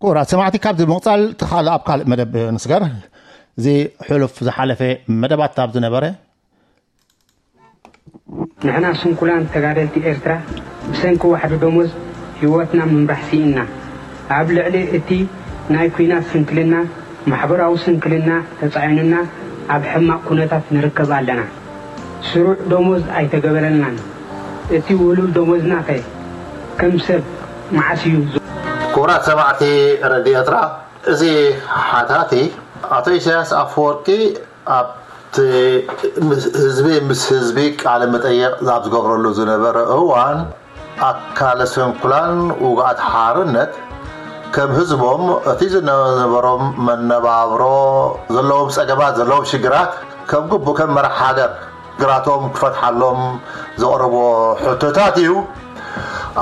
ክቡራት ሰማዕቲ፣ ካብዚ ብምቕጻል እቲ ካልእ ኣብ ካልእ መደብ ንስገር። እዚ ሕሉፍ ዝሓለፈ መደባት ኣብ ዝነበረ ንሕና ስንኩላን ተጋደልቲ ኤርትራ ብሰንኪ ዋሕዲ ደሞዝ ህይወትና ምምራሕ ስኢንና። ኣብ ልዕሊ እቲ ናይ ኲናት ስንክልና፣ ማሕበራዊ ስንክልና ተጻዒኑና ኣብ ሕማቕ ኩነታት ንርከብ ኣለና። ስሩዕ ደሞዝ ኣይተገበረልናን። እቲ ውሉል ደሞዝናኸ ከም ሰብ መዓስ እዩ ዝ- ክቡራት ሰማዕቲ ረድዮ ኤርትራ፣ እዚ ሓታቲ ኣቶ ኢሳያስ ኣፈወርቂ ኣብቲ ምስ ህዝቢ ምስ ህዝቢ ቃለ መጠየቕ ኣብ ዝገብረሉ ዝነበረ እዋን ኣካለ ስንኩላን ውጉኣት ሓርነት ከም ህዝቦም እቲ ዝነበሮም መነባብሮ ዘለዎም ጸገማት ዘለዎም ሽግራት ከም ግቡእ ከም መራሕ ሃገር ግራቶም ክፈትሓሎም ዘቕረቦ ሕቶታት እዩ።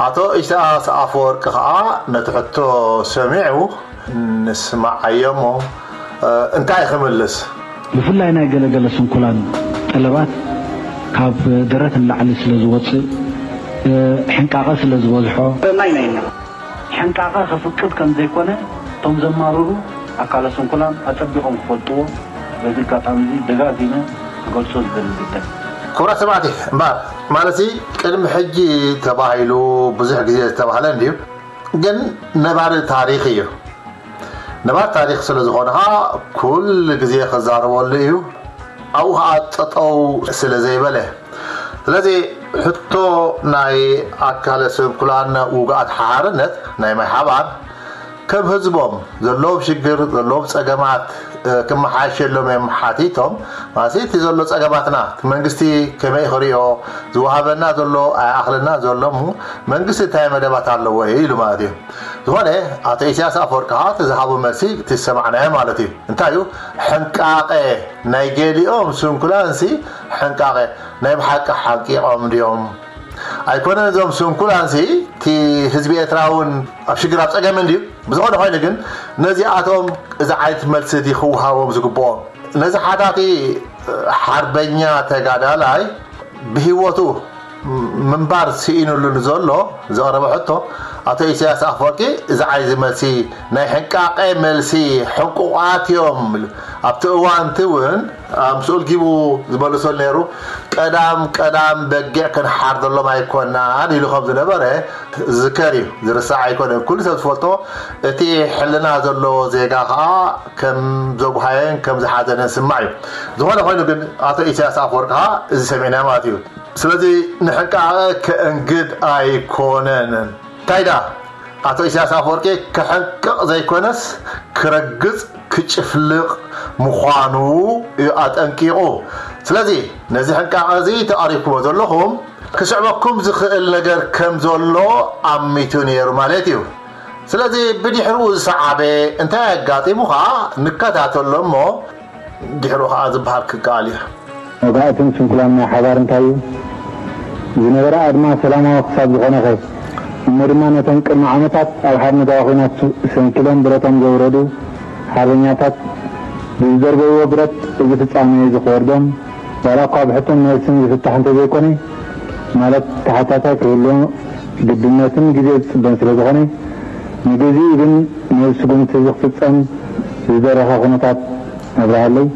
ኣቶ ኢሳያስ ኣፈወርቂ ከኣ ነቲ ሕቶ ሰሚዑ ንስማዓዮ እሞ እንታይ ክምልስ? ብፍላይ ናይ ገለገለ ስንኩላን ጠለባት ካብ ደረት ንላዕሊ ስለ ዝወጽእ፣ ሕንቃቐ ስለ ዝበዝሖ፣ ናይ ናይ ናይ ሕንቃቐ ከፍቅድ ከም ዘይኮነ እቶም ዘማርሩ ኣካለ ስንኩላን ኣጸቢቖም ክፈልጥዎ በዚ ኣጋጣሚ እዚ ደጋጊመ ክገልጾ ዝደሊ ጉዳይ። ክቡራት ሰማዕቲ፣ እምበኣር ማለት ቅድሚ ሕጂ ተባሂሉ ብዙሕ ግዜ ዝተባህለ እንድዩ፣ ግን ነባሪ ታሪኽ እዩ። ነባሪ ታሪኽ ስለ ዝኾነ ኸዓ ኩሉ ግዜ ክዛረበሉ እዩ። ኣብኡ ኸዓ ጠጠው ስለ ዘይበለ። ስለዚ ሕቶ ናይ ኣካለ ስንኩላን ውጉኣት ሓርነት ናይ ማይ ሓባር ከም ህዝቦም ዘለዎም ሽግር ዘለዎም ጸገማት ክመሓየሸሎም እዮም ሓቲቶም። ማለት እቲ ዘሎ ጸገማትና እቲ መንግስቲ ከመይ ክሪኦ ዝወሃበና ዘሎ ኣይኣኽለና ዘሎ እሞ መንግስቲ እንታይ መደባት ኣለዎ ኢሉ ማለት እዩ። ዝኾነ ኣቶ ኢሳያስ ኣፈወርቂ ከዓ እቲ ዝሃቦ መልሲ እቲ ዝሰማዕናዮ ማለት እዩ። እንታይ እዩ ሕንቃቐ ናይ ገሊኦም ስንኩላንሲ ሕንቃቐ ናይ ብሓቂ ሓቂቖም ድዮም? ኣይኮነን እዞም ስንኩላንሲ እቲ ህዝቢ ኤርትራ እውን ኣብ ሽግር ኣብ ጸገም እንድዩ። ብዝኾነ ኮይኑ ግን ነዚኣቶም እዚ ዓይነት መልሲ ድዩ ክወሃቦም ዝግብኦም? ነዚ ሓታቲ ሓርበኛ ተጋዳላይ ብህይወቱ ምንባር ስኢኑሉ ንዘሎ ዘቕረበ ሕቶ ኣቶ ኢሳያስ ኣፈወርቂ እዚ ዓይነት መልሲ ናይ ሕንቃቐ መልሲ ሕንቁቓት እዮም ኣብቲ እዋንቲ እውን ኣምስኡ ልጊቡ ዝመልሰሉ ነይሩ። ቀዳም ቀዳም በጊዕ ክንሓርደሎም ኣይኮናን ኢሉ ከም ዝነበረ ዝከር እዩ፣ ዝርሳዕ ኣይኮነን። ኩሉ ሰብ ዝፈልጦ እቲ ሕልና ዘለዎ ዜጋ ከዓ ከም ዘጉሃየን ከም ዝሓዘነን ስማዕ እዩ። ዝኾነ ኮይኑ ግን ኣቶ ኢሳያስ ኣፈወርቂ ከዓ እዚ ሰሚዕና ማለት እዩ። ስለዚ ንሕንቃቐ ከእንግድ ኣይኮነን። እንታይ ደኣ ኣቶ ኢሳያስ ኣፈወርቂ ክሕንቅቕ ዘይኮነስ ክረግጽ ክጭፍልቕ ምዃኑ እዩ ኣጠንቂቑ። ስለዚ ነዚ ሕንቃቐ እዚ ተቓሪብኩሞ ዘለኹም ክስዕበኩም ዝኽእል ነገር ከም ዘሎ ኣሚቱ ነይሩ ማለት እዩ። ስለዚ ብድሕሪኡ ዝሰዓበ እንታይ ኣጋጢሙ ኸዓ ንከታተሎ እሞ ድሕሪኡ ኸዓ ዝበሃል ክከኣል እዩ። መባእትን ስንኩላን ናይ ሓባር እንታይ እዩ? ዝነበረ ኣድማ ሰላማዊ ክሳብ ዝኾነኸ እሞ ድማ ነቶም ቅድሚ ዓመታት ኣብ ሓርነታዊ ኲናት ሰንኪሎም ብረቶም ዘውረዱ ሓርበኛታት ብዝደርበይዎ ብረት እዚ ፍጻሜ እዚ ክወርዶም ዋላ እኳ ብሕቶን መልስን ዝፍታሕ እንተዘይኮነ ማለት ተሓታታይ ክህልዎ ግድነትን ግዜ ዝጽበን ስለ ዝኾነ ንግዚኡ ግን ነዚ ስጉምቲ እዚ ክፍጸም ዝደረኸ ኩነታት ኣብርሃለይ።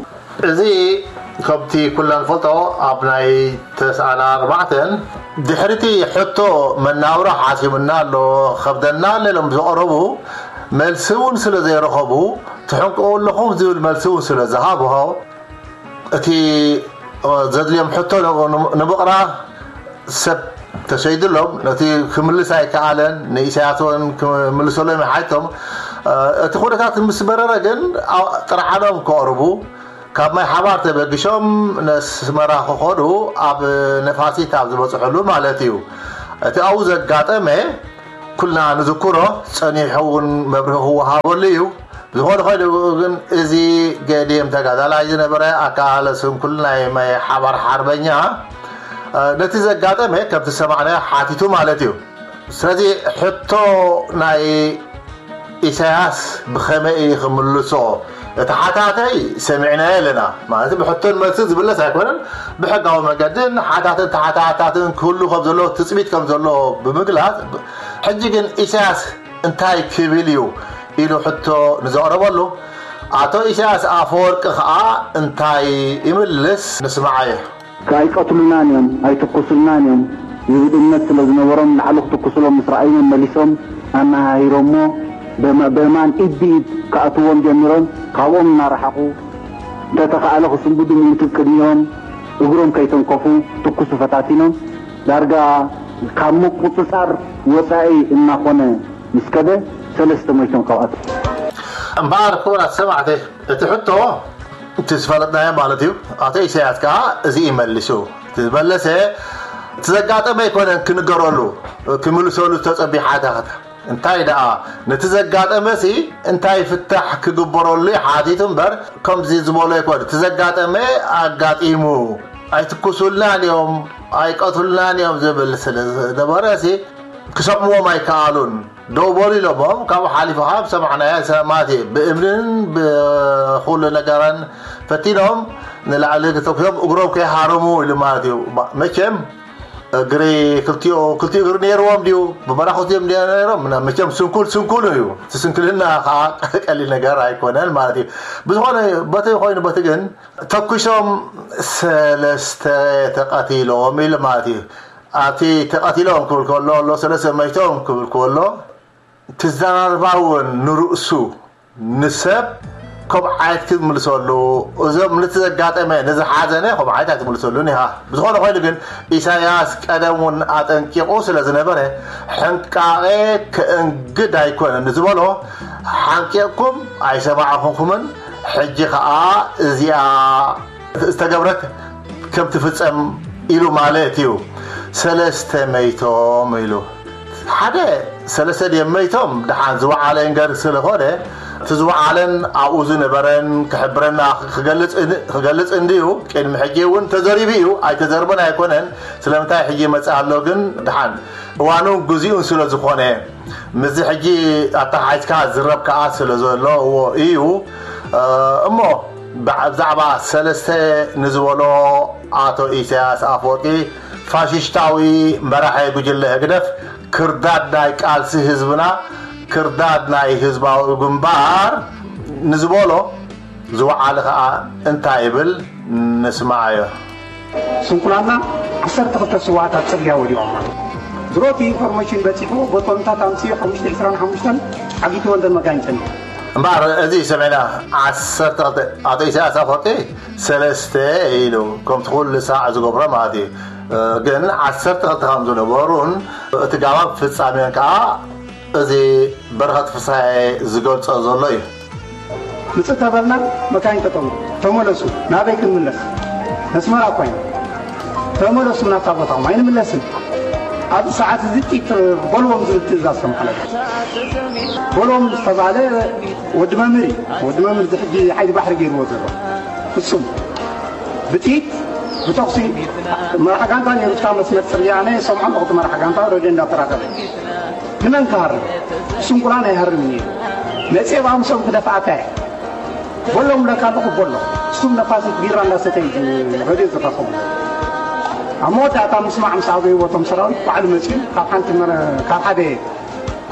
እዚ ከምቲ ኩልና ንፈልጦ ኣብ ናይ ተስዓን ኣርባዕተን ድሕሪቲ ሕቶ መናብሮ ሓሲሙና ኣሎ ከብደና ኣሎ ኢሎም ዘቕረቡ መልሲ እውን ስለ ዘይረኸቡ ትሕንቅቑ ኣለኹም ዝብል መልሲ እውን ስለ ዝሃብሆ እቲ ዘድልዮም ሕቶ ንምቕራብ ሰብ ተሸይድሎም ነቲ ክምልስ ኣይከኣለን። ንኢሳያስ እውን ክምልሰሎም ይሓቶም። እቲ ኩነታት ምስ በረረ ግን ጥርዓኖም ከቕርቡ ካብ ማይ ሓባር ተበግሾም ነስመራ ክኸዱ ኣብ ነፋሲት ኣብ ዝበፅሕሉ ማለት እዩ። እቲ ኣብኡ ዘጋጠመ ኩልና ንዝክሮ ጸኒሑ እውን መብርሂ ክወሃበሉ እዩ። ዝኾነ ኮይኑ ግን እዚ ገዲም ተጋዳላይ ዝነበረ ኣካለ ስንኩል ናይ ማይ ሓባር ሓርበኛ ነቲ ዘጋጠመ ከምቲ ዝሰማዕናዮ ሓቲቱ ማለት እዩ። ስለዚ ሕቶ ናይ ኢሳያስ ብኸመይ እዩ ክምልሶ? እቲ ሓታታይ ሰሚዕናዮ ኣለና። ማለት ብሕቶን መልሲ ዝምለስ ኣይኮነን። ብሕጋዊ መገድን ሓታትን ተሓታታትን ክህሉ ከም ዘለዎ ትጽቢት ከም ዘለዎ ብምግላጽ ሕጂ ግን ኢሳያስ እንታይ ክብል እዩ? ኢሉ ሕቶ ንዘቕረበሉ፣ ኣቶ ኢሳያስ ኣፈወርቂ ኸኣ እንታይ ይምልስ? ንስምዓዮ። ኣይቀትሉናን እዮም፣ ኣይትኩሱልናን እዮም ዝብል እምነት ስለ ዝነበሮም፣ ንላዕሊ ክትኩሱሎም ምስ ረኣዩ መመሊሶም ኣነሃሂሮሞ፣ በማ-፣ በማን ኢድ ብኢድ ክኣትዎም ጀሚሮም። ካብኦም እናረሓቑ፣ እንተተኻእለ ክስንብዱ ምእንቲ ቅድሚኦም እግሮም ከይተንከፉ ትኩሱ ፈታቲኖም። ዳርጋ ካብ ምቁጽጻር ወጻኢ እናኾነ ምስ ከደ፣ ሰለስተ ሞይቶም ካብኣቶም። እምበኣር ክቡራት ሰማዕቲ፣ እቲ ሕቶ እቲ ዝፈለጥናዮ ማለት እዩ። ኣቶ ኢሳያስ ከኣ እዚ እዩ መሊሱ። እቲ ዝበለሰ፣ እቲ ዘጋጠመ ኣይኮነን ክንገረሉ፣ ክምልሰሉ ዝተጸብዩ ሓተታ። እንታይ ደኣ፣ ነቲ ዘጋጠመሲ እንታይ ፍታሕ ክግበረሉ እዩ ሓቲቱ እምበር፣ ከምዚ ዝበሎ ኣይኮነ። እቲ ዘጋጠመ ኣጋጢሙ፣ ኣይትኩሱልናን እዮም፣ ኣይቀትሉናን እዮም ዝብል ስለ ዝነበረሲ፣ ክሰምዎም ኣይከኣሉን። ደው በሉ ኢሎሞም፣ ካብኡ ሓሊፉ ካብ ሰማዕናዮ ሰማዕቲ ብእምንን ብኹሉ ነገርን ፈቲኖም ንላዕሊ ተኩሶም እግሮም ከይሃረሙ ኢሉ ማለት እዩ። ባ-፣ መቸም እግሪ ክልቲኡ፣ ክልቲኡ እግሪ ነይርዎም ድዩ? ብበራኹት እዮም ድዮም ነይሮም? ምና-፣ መቸም ስንኩል ስንኩል እዩ። እቲ ስንክልና ከዓ ቀሊል ነገር ኣይኮነን ማለት እዩ። ብዝኾነ በቲ ኮይኑ በቲ ግን ተኩሶም ሰለስተ ተቐቲሎም ኢሉ ማለት እዩ። ኣብቲ ተቐቲሎም ክብል ከሎ ኣሎ፣ ሰለስተ መይቶም ክብል ከሎ፣ ትዘራርባ እውን ንርእሱ ንሰብ ከምኡ ዓይነት ክትምልሰሉ፣ እዞም ነቲ ዘጋጠመ፣ ነዚ ሓዘነ ከምኡ ዓይነት ኣይትምልሰሉን ኢኻ። ብዝኾነ ኮይኑ ግን ኢሳያስ ቀደም እውን ኣጠንቂቑ ስለ ዝነበረ፣ ሕንቃቐ ከእንግድ ኣይኮነን ዝበሎ፣ ሓንቂቕኩም ኣይሰማዕኹምኩምን፣ ሕጂ ኸኣ እዚኣ ዝተገብረት ከም ትፍጸም ኢሉ ማለት እዩ። ሰለስተ መይቶም ኢሉ። ሓደ፣ ሰለስተ ድዮም መይቶም? ደሓን ዝወዓለ እንገር ስለኾነ፣ እቲ ዝወዓለን ኣብኡ ዝነበረን ክሕብረና ክገልጽ እን-፣ ክገልጽ እንድዩ። ቅድሚ ሕጂ እውን ተዘሪቡ እዩ፣ ኣይተዘርበን ኣይኮነን። ስለምንታይ ሕጂ ይመጽእ ኣሎ ግን፣ ደሓን እዋኑን ግዚኡን ስለ ዝኾነ፣ ምስዚ ሕጂ ኣተሓሒዝካ ዝረብ ከኣ ስለ ዘለዎ እዩ። እ፣ እሞ ብዓ-፣ ብዛዕባ ሰለስተ ንዝበሎ፣ ኣቶ ኢሳያስ ኣፈወርቂ ፋሽስታዊ መራሒ ጉጅለ ህግደፍ፣ ክርዳድ ናይ ቃልሲ ህዝብና፣ ክርዳድ ናይ ህዝባዊ ግንባር ንዝበሎ ዝወዓለ ኸኣ እንታይ ይብል ንስምዓዮ። ስንኩላንና ዓሰርተ ክልተ ስውኣት ኣብ ጽርግያ ወዲቖም ኣለዉ። ድሮ እቲ ኢንፎርሜሽን በጺሑ፣ ቦቶምታት ኣምስዩ ሓሙሽተ ዕስራን ሓሙሽተን ዓጊትዎ እንተን መጋይን ጸኒሑ። እምበኣር እዚ ሰሚዕና፣ ዓሰርተ ክልተ፣ ኣቶ ኢሳያስ ኣፈወርቂ ሰለስተ ኢሉ፣ ከምቲ ኩሉ ሳዕ ዝገብሮ ማለት እዩ። ግን ዓሰርተ ክልተ ከም ዝነበሩን እቲ ጋባብ ፍጻሜን ከኣ እዚ በረኸት ፍስሃየ ዝገልጾ ዘሎ እዩ። ምጽእ ተበልና፣ መካይን ጠጠው። ተመለሱ። ናበይ ክንምለስ? ነስመራ እኮ ኢና። ተመለሱ ናብታ ቦታኹም፣ ኣይንምለስን። ኣብዚ ሰዓት እዚ ጢት በልዎም ዝብል ትእዛዝ ተመሓላለፈ። በልዎም ዝተባህለ ወዲ መምህር እዩ። ወዲ መምህር እዚ ሕጂ ሓይሊ ባሕሪ ገይርዎ ዘሎ። ፍጹም ብጥይት፣ ብተኹሲ፣ መራሕ ጋንታ ነይሩ፣ እታ መስመር ጽርግያ፣ ኣነ የሰምዖ ኣለኹ፣ እቲ መራሕ ጋንታ ሬድዮ እንዳተራኸበ። ንመን ክሃርም? ስንኩላን ኣይሃርምን እዩ። መጽየ ብኣምሶም ክደፍኣካ እየ። በሎም ለካ ኣለኹ በሎ። እሱም ነፋሲት ቢራ እንዳሰተዩ ሬድዮ ዝራኸቡ። ኣብ መወዳእታ ምስማዕ ምስ ኣበይዎ እቶም ሰራዊት ባዕሉ መጺኡ ካብ ሓንቲ መረ-፣ ካብ ሓደ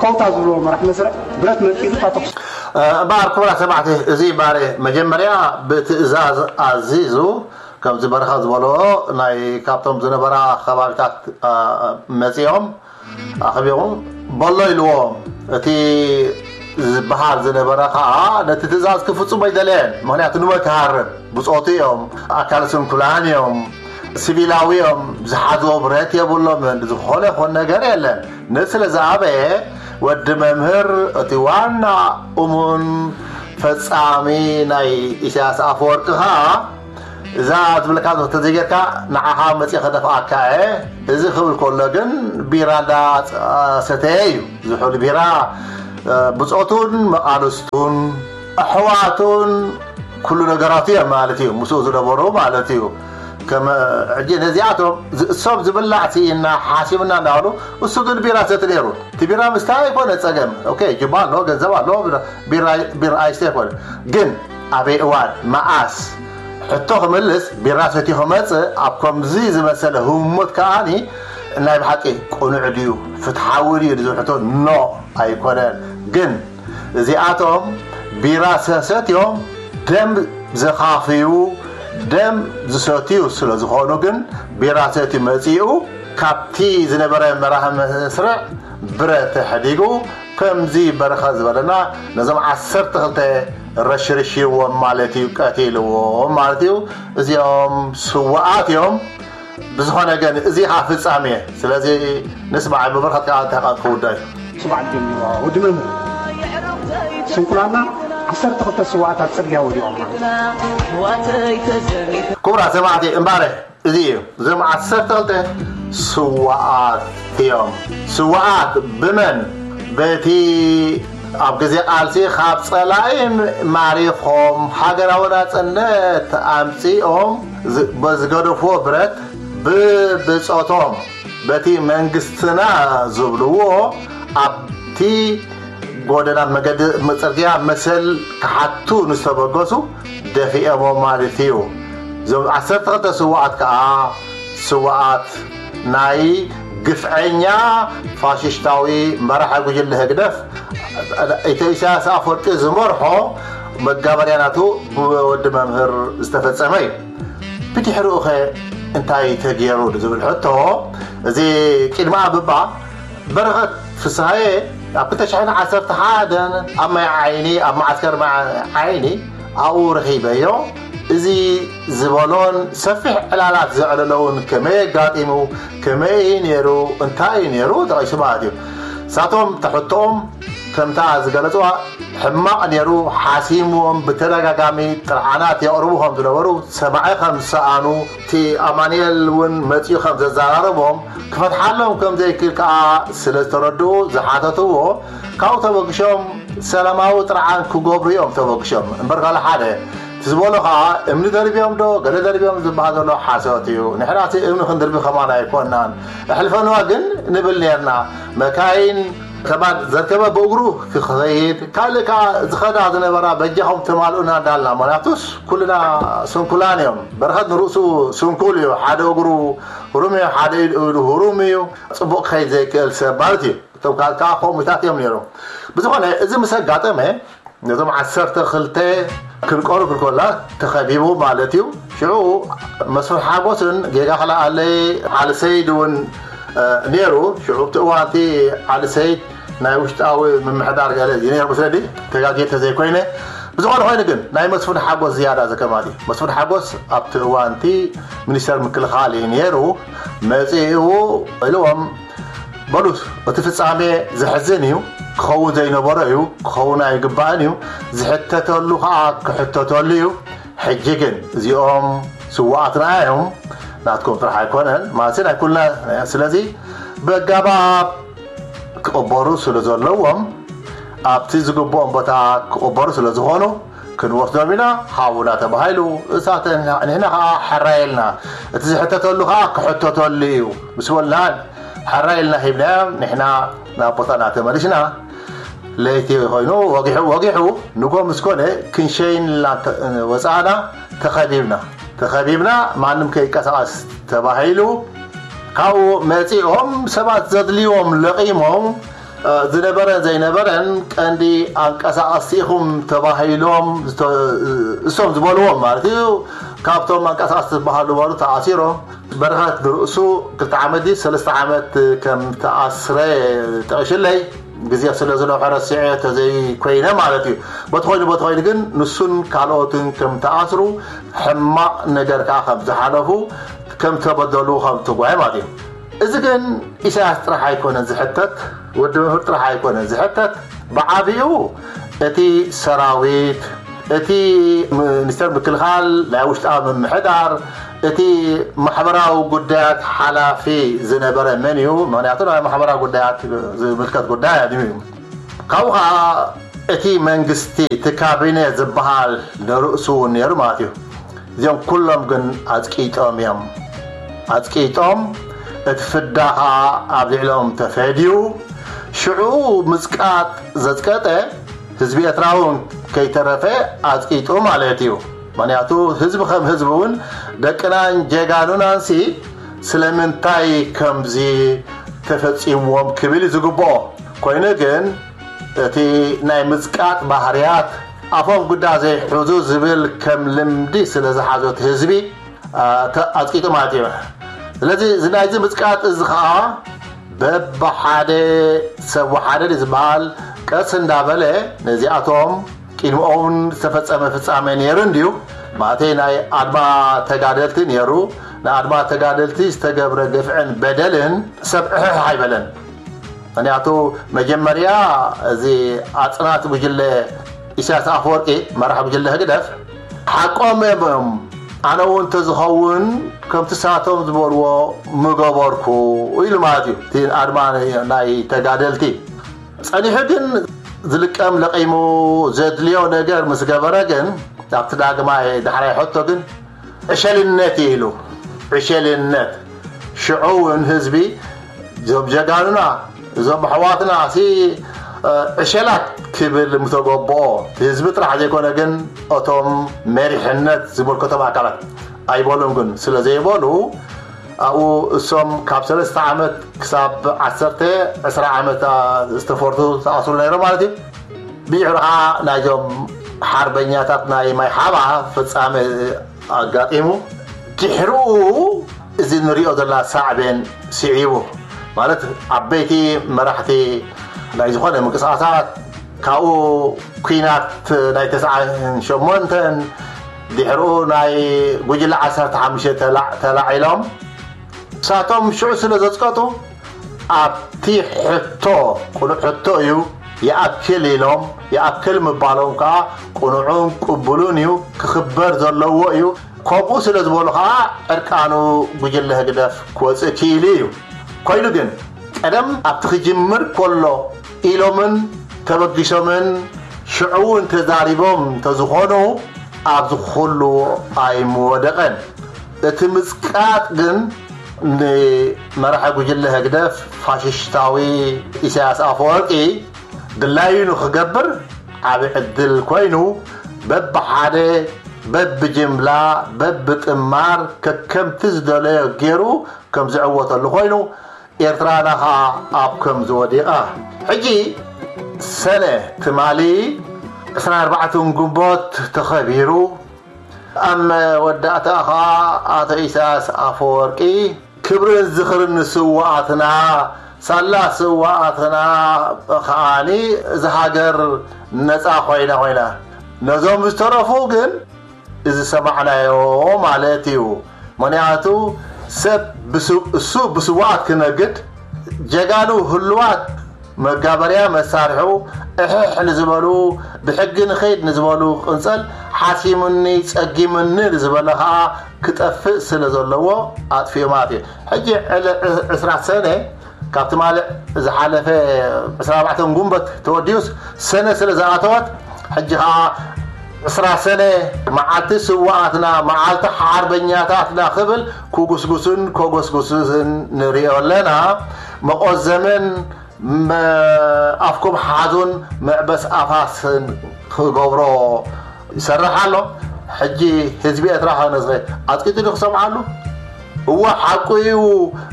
ኮውታ ዝብልዎ መራሕ መስርዕ ብረት መንጢሉ እታ ተኹሲ። እ፣ እምበኣር ክቡራት ሰማዕቲ፣ እዚ ባሬ መጀመርያ ብትእዛዝ ኣዚዙ፣ ከምዚ በረኻ ዝበሎ ናይ ካብቶም ዝነበራ ከባቢታት፣ እ፣ መጺኦም ኣኽቢቑ በሎ ኢልዎ። እቲ ዝበሃል ዝነበረ ኸኣ ነቲ ትእዛዝ ክፍጽሞ ኣይደለየን። ምኽንያቱ ንመን ክሃርም? ብጾቱ እዮም፣ ኣካለ ስንኩላን እዮም፣ ሲቪላዊ እዮም፣ ዝሓዝዎ ብረት የብሎምን። ዝኾነ ይኹን ነገር የለን። ነዚ ስለ ዝኣበየ ወዲ መምህር እቲ ዋና እሙን ፈጻሚ ናይ ኢሳያስ ኣፈወርቂ ኸኣ እዛ ዝብለካ ዘሎ ተዘይጌርካ ንዓኻ መጺእ ከደፍኣካ እየ። እዚ ክብል ከሎ ግን ቢራ እንዳሰተየ እዩ። ዝሑል ቢራ፣ እ፣ ብጾቱን መቓልስቱን ኣሕዋቱን ኩሉ ነገራቱ እዮም ማለት እዩ። ምስኡ ዝነበሩ ማለት እዩ። ከም ሕጂ ነዚኣቶም ዝ-፣ እሶም ዝብላዕ ስኢና ሓሲምና እንዳበሉ፣ እሱ ግን ቢራ ሰቲ ነይሩ። እቲ ቢራ ምስታይ ኣይኮነ ጸገም። ኦኬ፣ ጅባ ኣሎ፣ ገንዘብ ኣሎ፣ ቢራ፣ ቢራ ኣይስተ ኣይኮነ። ግን ኣበይ እዋን፣ መኣስ? ሕቶ ክምልስ፣ ቢራ ሰትዩ ክመጽእ፣ ኣብ ከምዚ ዝመሰለ ህሞት ከኣኒ፣ ናይ ብሓቂ ቅኑዕ ድዩ፣ ፍትሓዊ ድዩ ዝብል ሕቶ፣ ኖ፣ ኣይኮነን። ግን እዚኣቶም ቢራ ሰሰት እዮም። ደም ዝኻፍዩ፣ ደም ዝሰትዩ ስለ ዝኾኑ ግን ቢራ ሰትዩ መጺኡ ካብቲ ዝነበረ መራሒ መስርዕ ብረት ተሕዲጉ ከምዚ በረኸት ዝበለና ነዞም ዓሰርተ ክልተ ረሽርሽዎም ማለት እዩ፣ ቀቲልዎም ማለት እዩ። እዚኦም ስዋኣት እዮም። ብዝኾነ ግን እዚ ኸዓ ፍጻሜ። ስለዚ ንስማዕ፣ ብብርኸት ከዓ እንታይ ክውዳእ እዩ። ስማዕ ጀሚርዋ ወዲ መምህር። ስንኩላና ዓሰርተ ክልተ ስዋኣታት ጽርግያ ወዲቖም ማለት እዩ። ክቡራት ሰማዕቲ እምባረ፣ እዚ እዩ። እዞም ዓሰርተ ክልተ ስዋኣት እዮም። ስዋኣት ብመን? በቲ ኣብ ግዜ ቃልሲ ካብ ጸላኢ ማሪኾም ሃገራዊ ናጽነት ኣምጺኦም ዝ-፣ በዝገደፍዎ ብረት ብብጾቶም በቲ መንግስትና ዝብልዎ ኣብቲ ጎደና መገዲ ጽርግያ መሰል ክሓቱ ንዝተበገሱ ደፊኦሞ ማለት እዩ። እዞም ዓሰርተ ክልተ ስዋኣት ከኣ ስዋኣት ናይ ግፍዐኛ ፋሽስታዊ መራሒ ጉጅለ ህግደፍ፣ ኢትዮ ኢሳያስ ኣፈወርቂ ዝመርሖ መጋበርያ ናቱ ብወዲ መምህር ዝተፈጸመ እዩ። ብድሕሪኡ ኸ እንታይ ተገይሩ ዝብል ሕቶ፣ እዚ ቅድሚ ኣብባ በረኸት ፍስሃየ ኣብ ክልተ ሽሕን ዓሰርተ ሓደን ኣብ ማይ ዓይኒ፣ ኣብ መዓስከር ማይ ዓይኒ ኣብኡ ረኺበዮ። እዚ ዝበሎን ሰፊሕ ዕላላት ዘዕለለውን ከመይ ኣጋጢሙ፣ ከመይ እዩ ነይሩ፣ እንታይ እዩ ነይሩ ጠቒሱ ማለት እዩ። ንሳቶም ተሕቶኦም ከምታ ዝገለጽዋ ሕማቕ ነይሩ፣ ሓሲምዎም ብተደጋጋሚ ጥርዓናት የቕርቡ ከም ዝነበሩ፣ ሰማዒ ከም ዝሰኣኑ፣ እቲ ኣማኑኤል እውን መጺኡ ከም ዘዘራረቦም፣ ክፈትሓሎም ከም ዘይክእል ከኣ ስለ ዝተረድኡ ዝሓተትዎ፣ ካብኡ ተበግሾም ሰላማዊ ጥርዓን ክገብሩ እዮም ተበግሾም። እምበር ካልእ ሓደ፣ እቲ ዝበሎ ከኣ እምኒ ደርብዮም ዶ ገለ ደርብዮም ዝበሃል ዘሎ ሓሶት እዩ። ንሕና እቲ እምኒ ክንድርቢ ከማን ኣይኮናን። ኣሕልፈንዋ ግን ንብል ነርና። መካይን ከማን ዘርከበ ብእግሩ ክኸይድ፣ ካልእ ከኣ ዝኸዳ ዝነበራ በጃኹም ተማልኡና እንዳልና። ምኽንያቱስ ኩልና ስንኩላን እዮም። በረኸት ንርእሱ ስንኩል እዩ። ሓደ እግሩ ህሩም እዩ፣ ሓደ ኢዱ ህሩም እዩ። ጽቡቕ ክኸይድ ዘይክእል ሰብ ማለት እዩ። እቶም ካልእ ከኣ ከምኡታት እዮም ነይሮም። ብዝኾነ፣ እዚ ምስ ኣጋጠመ፣ ነዞም ዓሰርተ ክልተ ክንቀሩ ክንከላ ተኸቢቡ ማለት እዩ። ሽዑ መስፍን ሓጎስን ጌጋ ክልኣለይ ዓሊ ሰይድ እውን፣ እ፣ ነይሩ። ሽዑ ኣብቲ እዋን እቲ ዓሊ ሰይድ ናይ ውሽጣዊ ምምሕዳር ገለ እዩ ነይሩ መስለኒ፣ ተጋግየ ተዘይኮይነ። ብዝኾነ ኮይኑ ግን ናይ መስፍን ሓጎስ ዝያዳ ዘከማል እዩ። መስፍን ሓጎስ ኣብቲ እዋን እቲ ሚኒስተር ምክልኻል እዩ ነይሩ። መጺኡ ኢልዎም፣ በሉ፣ እቲ ፍጻሜ ዘሕዝን እዩ፣ ክኸውን ዘይነበሮ እዩ፣ ክኸውን ኣይግባእን እዩ፣ ዝሕተተሉ ኸኣ ክሕተተሉ እዩ። ሕጂ ግን እዚኦም ስውኣትና እዮም፣ ናትኩም ጥራሕ ኣይኮነን፣ ማለት ናይ ኩልና። ስለዚ ብኣገባብ ክቕበሩ ስለ ዘለዎም፣ ኣብቲ ዝግብኦም ቦታ ክቕበሩ ስለ ዝኾኑ፣ ክንወስዶም ኢና፣ ሃቡና ተባሂሉ። እሳተ ንሕና ኸኣ ሕራይ ኢልና፣ እቲ ዝሕተተሉ ኸኣ ክሕተተሉ እዩ ምስ በልና፣ ሕራይ ኢልና ሂብናዮም፣ ንሕና ናብ ቦታና ተመሊስና። ለይቲ ኮይኑ ወጊሑ፣ ወጊሑ፣ ንጎ ምስ ኮነ ክንሸይን ኢልና ተ-፣ ወጻእና፣ ተኸቢብና። ተኸቢብና፣ ማንም ከይንቀሳቐስ ተባሂሉ። ካብኡ መጺኦም ሰባት ዘድልይዎም ለቒሞም፣ እ፣ ዝነበረን ዘይነበረን ቀንዲ ኣንቀሳቐስቲ ኢኹም ተባሂሎም፣ ዝተ-፣ እሶም ዝበልዎም ማለት እዩ። ካብቶም ኣንቀሳቐስቲ ዝበሃሉ በሉ ተኣሲሮም። በረኸት ንርእሱ ክልተ ዓመት ድዩ ሰለስተ ዓመት ከም ተኣስረ ጠቒሽለይ። ግዜ ስለ ዝነውሐ ረሲዐ ተዘይኮይነ ማለት እዩ። በቲ ኮይኑ፣ በቲ ኮይኑ ግን ንሱን ካልኦትን ከም ተኣስሩ፣ ሕማቕ ነገር ከኣ ከም ዝሓለፉ፣ ከም ተበደሉ፣ ከም ትጓየ ማለት እዩ። እዚ ግን ኢሳያስ ጥራሕ ኣይኮነን ዝሕተት፣ ወዲ መምህር ጥራሕ ኣይኮነን ዝሕተት። ብዓቢኡ እቲ ሰራዊት፣ እቲ ሚኒስተር ምክልኻል፣ ናይ ውሽጣዊ ምምሕዳር፣ እቲ ማሕበራዊ ጉዳያት ሓላፊ ዝነበረ መን እዩ? ምኽንያቱ ናይ ማሕበራዊ ጉዳያት ዝምልከት ጉዳይ እዩ። ካብኡ ኸዓ እቲ መንግስቲ፣ እቲ ካቢኔ ዝበሃል ንርእሱ እውን ነይሩ ማለት እዩ። እዚኦም ኩሎም ግን ኣጽቂጦም እዮም። ኣጽቂጦም፣ እቲ ፍዳ ኸዓ ኣብ ልዕሎም ተፈድዩ። ሽዑ ምጽቃጥ ዘጽቀጠ ህዝቢ ኤርትራ እውን ከይተረፈ ኣጽቂጡ ማለት እዩ። ምኽንያቱ ህዝቢ ከም ህዝቢ እውን ደቅናን ጀጋኑናንሲ ስለምንታይ ከምዚ ተፈጺምዎም ክብል እዩ ዝግብኦ። ኮይኑ ግን እቲ ናይ ምጽቃጥ ባህርያት ኣፎም ጉዳ ዘይሕዙ ዝብል ከም ልምዲ ስለ ዝሓዞት ህዝቢ ኣጽቂጡ ማለት እዩ። ስለዚ እዚ ናይዚ ምጽቃጥ እዚ ከዓ በብሓደ ሰብ ወሓደ ዝበሃል ቀስ እንዳበለ ነዚኣቶም ቅድሚኦም ዝተፈጸመ ፍጻሜ ነይሩ እንድዩ። ማለተይ ናይ ኣድማ ተጋደልቲ ነይሩ። ንኣድማ ተጋደልቲ ዝተገብረ ግፍዕን በደልን ሰብ ዕሕሕ ኣይበለን። ምክንያቱ መጀመርያ እዚ ኣጽናቲ ጉጅለ ኢሳያስ ኣፈወርቂ መራሕ ጉጅለ ህግደፍ ሓቆም እዮም። ኣነ እውን እንተዝኸውን ከምቲ ሳቶም ዝበልዎ ምገበርኩ ኢሉ ማለት እዩ። እቲ ኣድማ ናይ ተጋደልቲ ጸኒሑ ግን ዝልቀም ለቒሙ ዘድልዮ ነገር ምስ ገበረ ግን ኣብቲ ዳግማይ ዳሕራይ ሕቶ ግን ዕሸልነት ኢሉ ዕሸልነት ሽዑ እውን ህዝቢ እዞም ጀጋኑና እዞም ኣሕዋትና ሲ ዕሸላት ክብል ምተገብኦ ህዝቢ ጥራሕ ዘይኮነ ግን እቶም መሪሕነት ዝምልከቶም ኣካላት ኣይበሉን ግን ስለ ዘይበሉ ኣብኡ እሶም ካብ ሰለስተ ዓመት ክሳብ ዓሰርተ ዕስራ ዓመት ዝተፈርቱ ተኣስሩ ነይሮም ማለት እዩ። ብድሕሪ ከዓ ናይዞም ሓርበኛታት ናይ ማይ ሓባ ፍጻሜ ኣጋጢሙ ድሕሪኡ እዚ ንሪኦ ዘለና ሳዕቤን ስዒቡ ማለት ዓበይቲ መራሕቲ ናይ ዝኾነ ምንቅስቃሳት ካብኡ ኩናት ናይ ተስዓን ሸሞንተን ድሕሪኡ ናይ ጉጅለ ዓሰርተ ሓሙሽተ ተላዕ- ተላዒሎም ንሳቶም ሽዑ ስለ ዘጽቀጡ ኣብቲ ሕቶ ቅኑዕ ሕቶ እዩ ይኣክል ኢሎም ይኣክል ምባሎም ከዓ ቅኑዑን ቅቡሉን እዩ ክኽበር ዘለዎ እዩ። ከምኡ ስለ ዝበሉ ከዓ ዕርቃኑ ጉጅለ ህግደፍ ክወፅእ ክኢሉ እዩ። ኮይኑ ግን ቀደም ኣብቲ ክጅምር ከሎ ኢሎምን ተበጊሶምን ሽዑ እውን ተዛሪቦም እንተዝኾኑ ኣብዚ ኩሉ ኣይምወደቐን። እቲ ምጽቃጥ ግን ንመራሒ ጉጅለ ህግደፍ ፋሽሽታዊ ኢሳያስ ኣፈወርቂ ድላዩ ንክገብር ዓቢ ዕድል ኮይኑ በብሓደ በብጅምላ በብጥማር ከከምቲ ዝደለዮ ገይሩ ከም ዝዕወተሉ ኮይኑ ኤርትራና ኸኣ ኣብ ከም ዝወዲቓ ሕጂ ሰነ ትማሊ ዕስራን ኣርባዕተን ግንቦት ተኸቢሩ ኣብ መወዳእታ ኸኣ ኣቶ ኢሳያስ ኣፈወርቂ ክብርን ዝኽርን ንስውኣትና ሳላ ስውኣትና ከዓኒ እዛ ሃገር ነፃ ኮይና ኮይና ነዞም ዝተረፉ ግን እዚ ዝሰማዕናዮ ማለት እዩ። ምክንያቱ ሰብ ብስ- እሱ ብስውኣት ክነግድ ጀጋኑ ህሉዋት መጋበርያ መሳርሑ እሕሕ ንዝበሉ ብሕጊ ንኸይድ ንዝበሉ ቅንፀል ሓሲሙኒ ፀጊሙኒ ንዝበለ ከዓ ክጠፍእ ስለ ዘለዎ ኣጥፊኡ ማለት እዩ። ሕጂ ዕለ ዕስራ ሰነ ካብ ትማሊ ዝሓለፈ ዕስራ ኣርባዕተ ጉንበት ተወዲኡስ ሰነ ስለ ዝኣተወት ሕጂ ከዓ ዕስራ ሰነ መዓልቲ ስውኣትና መዓልቲ ሓርበኛታትና ክብል ክጉስጉስን ከጎስጉስን ንሪኦ ኣለና። መቆዘምን ኣፍኩም ሓዙን መዕበስ ኣፋስን ክገብሮ ይሰርሕ ኣሎ። ሕጂ ህዝቢ ኤርትራ ከነዝኸ ኣፅቂጡ ዶ ክሰምዓሉ? እወ ሓቁ እዩ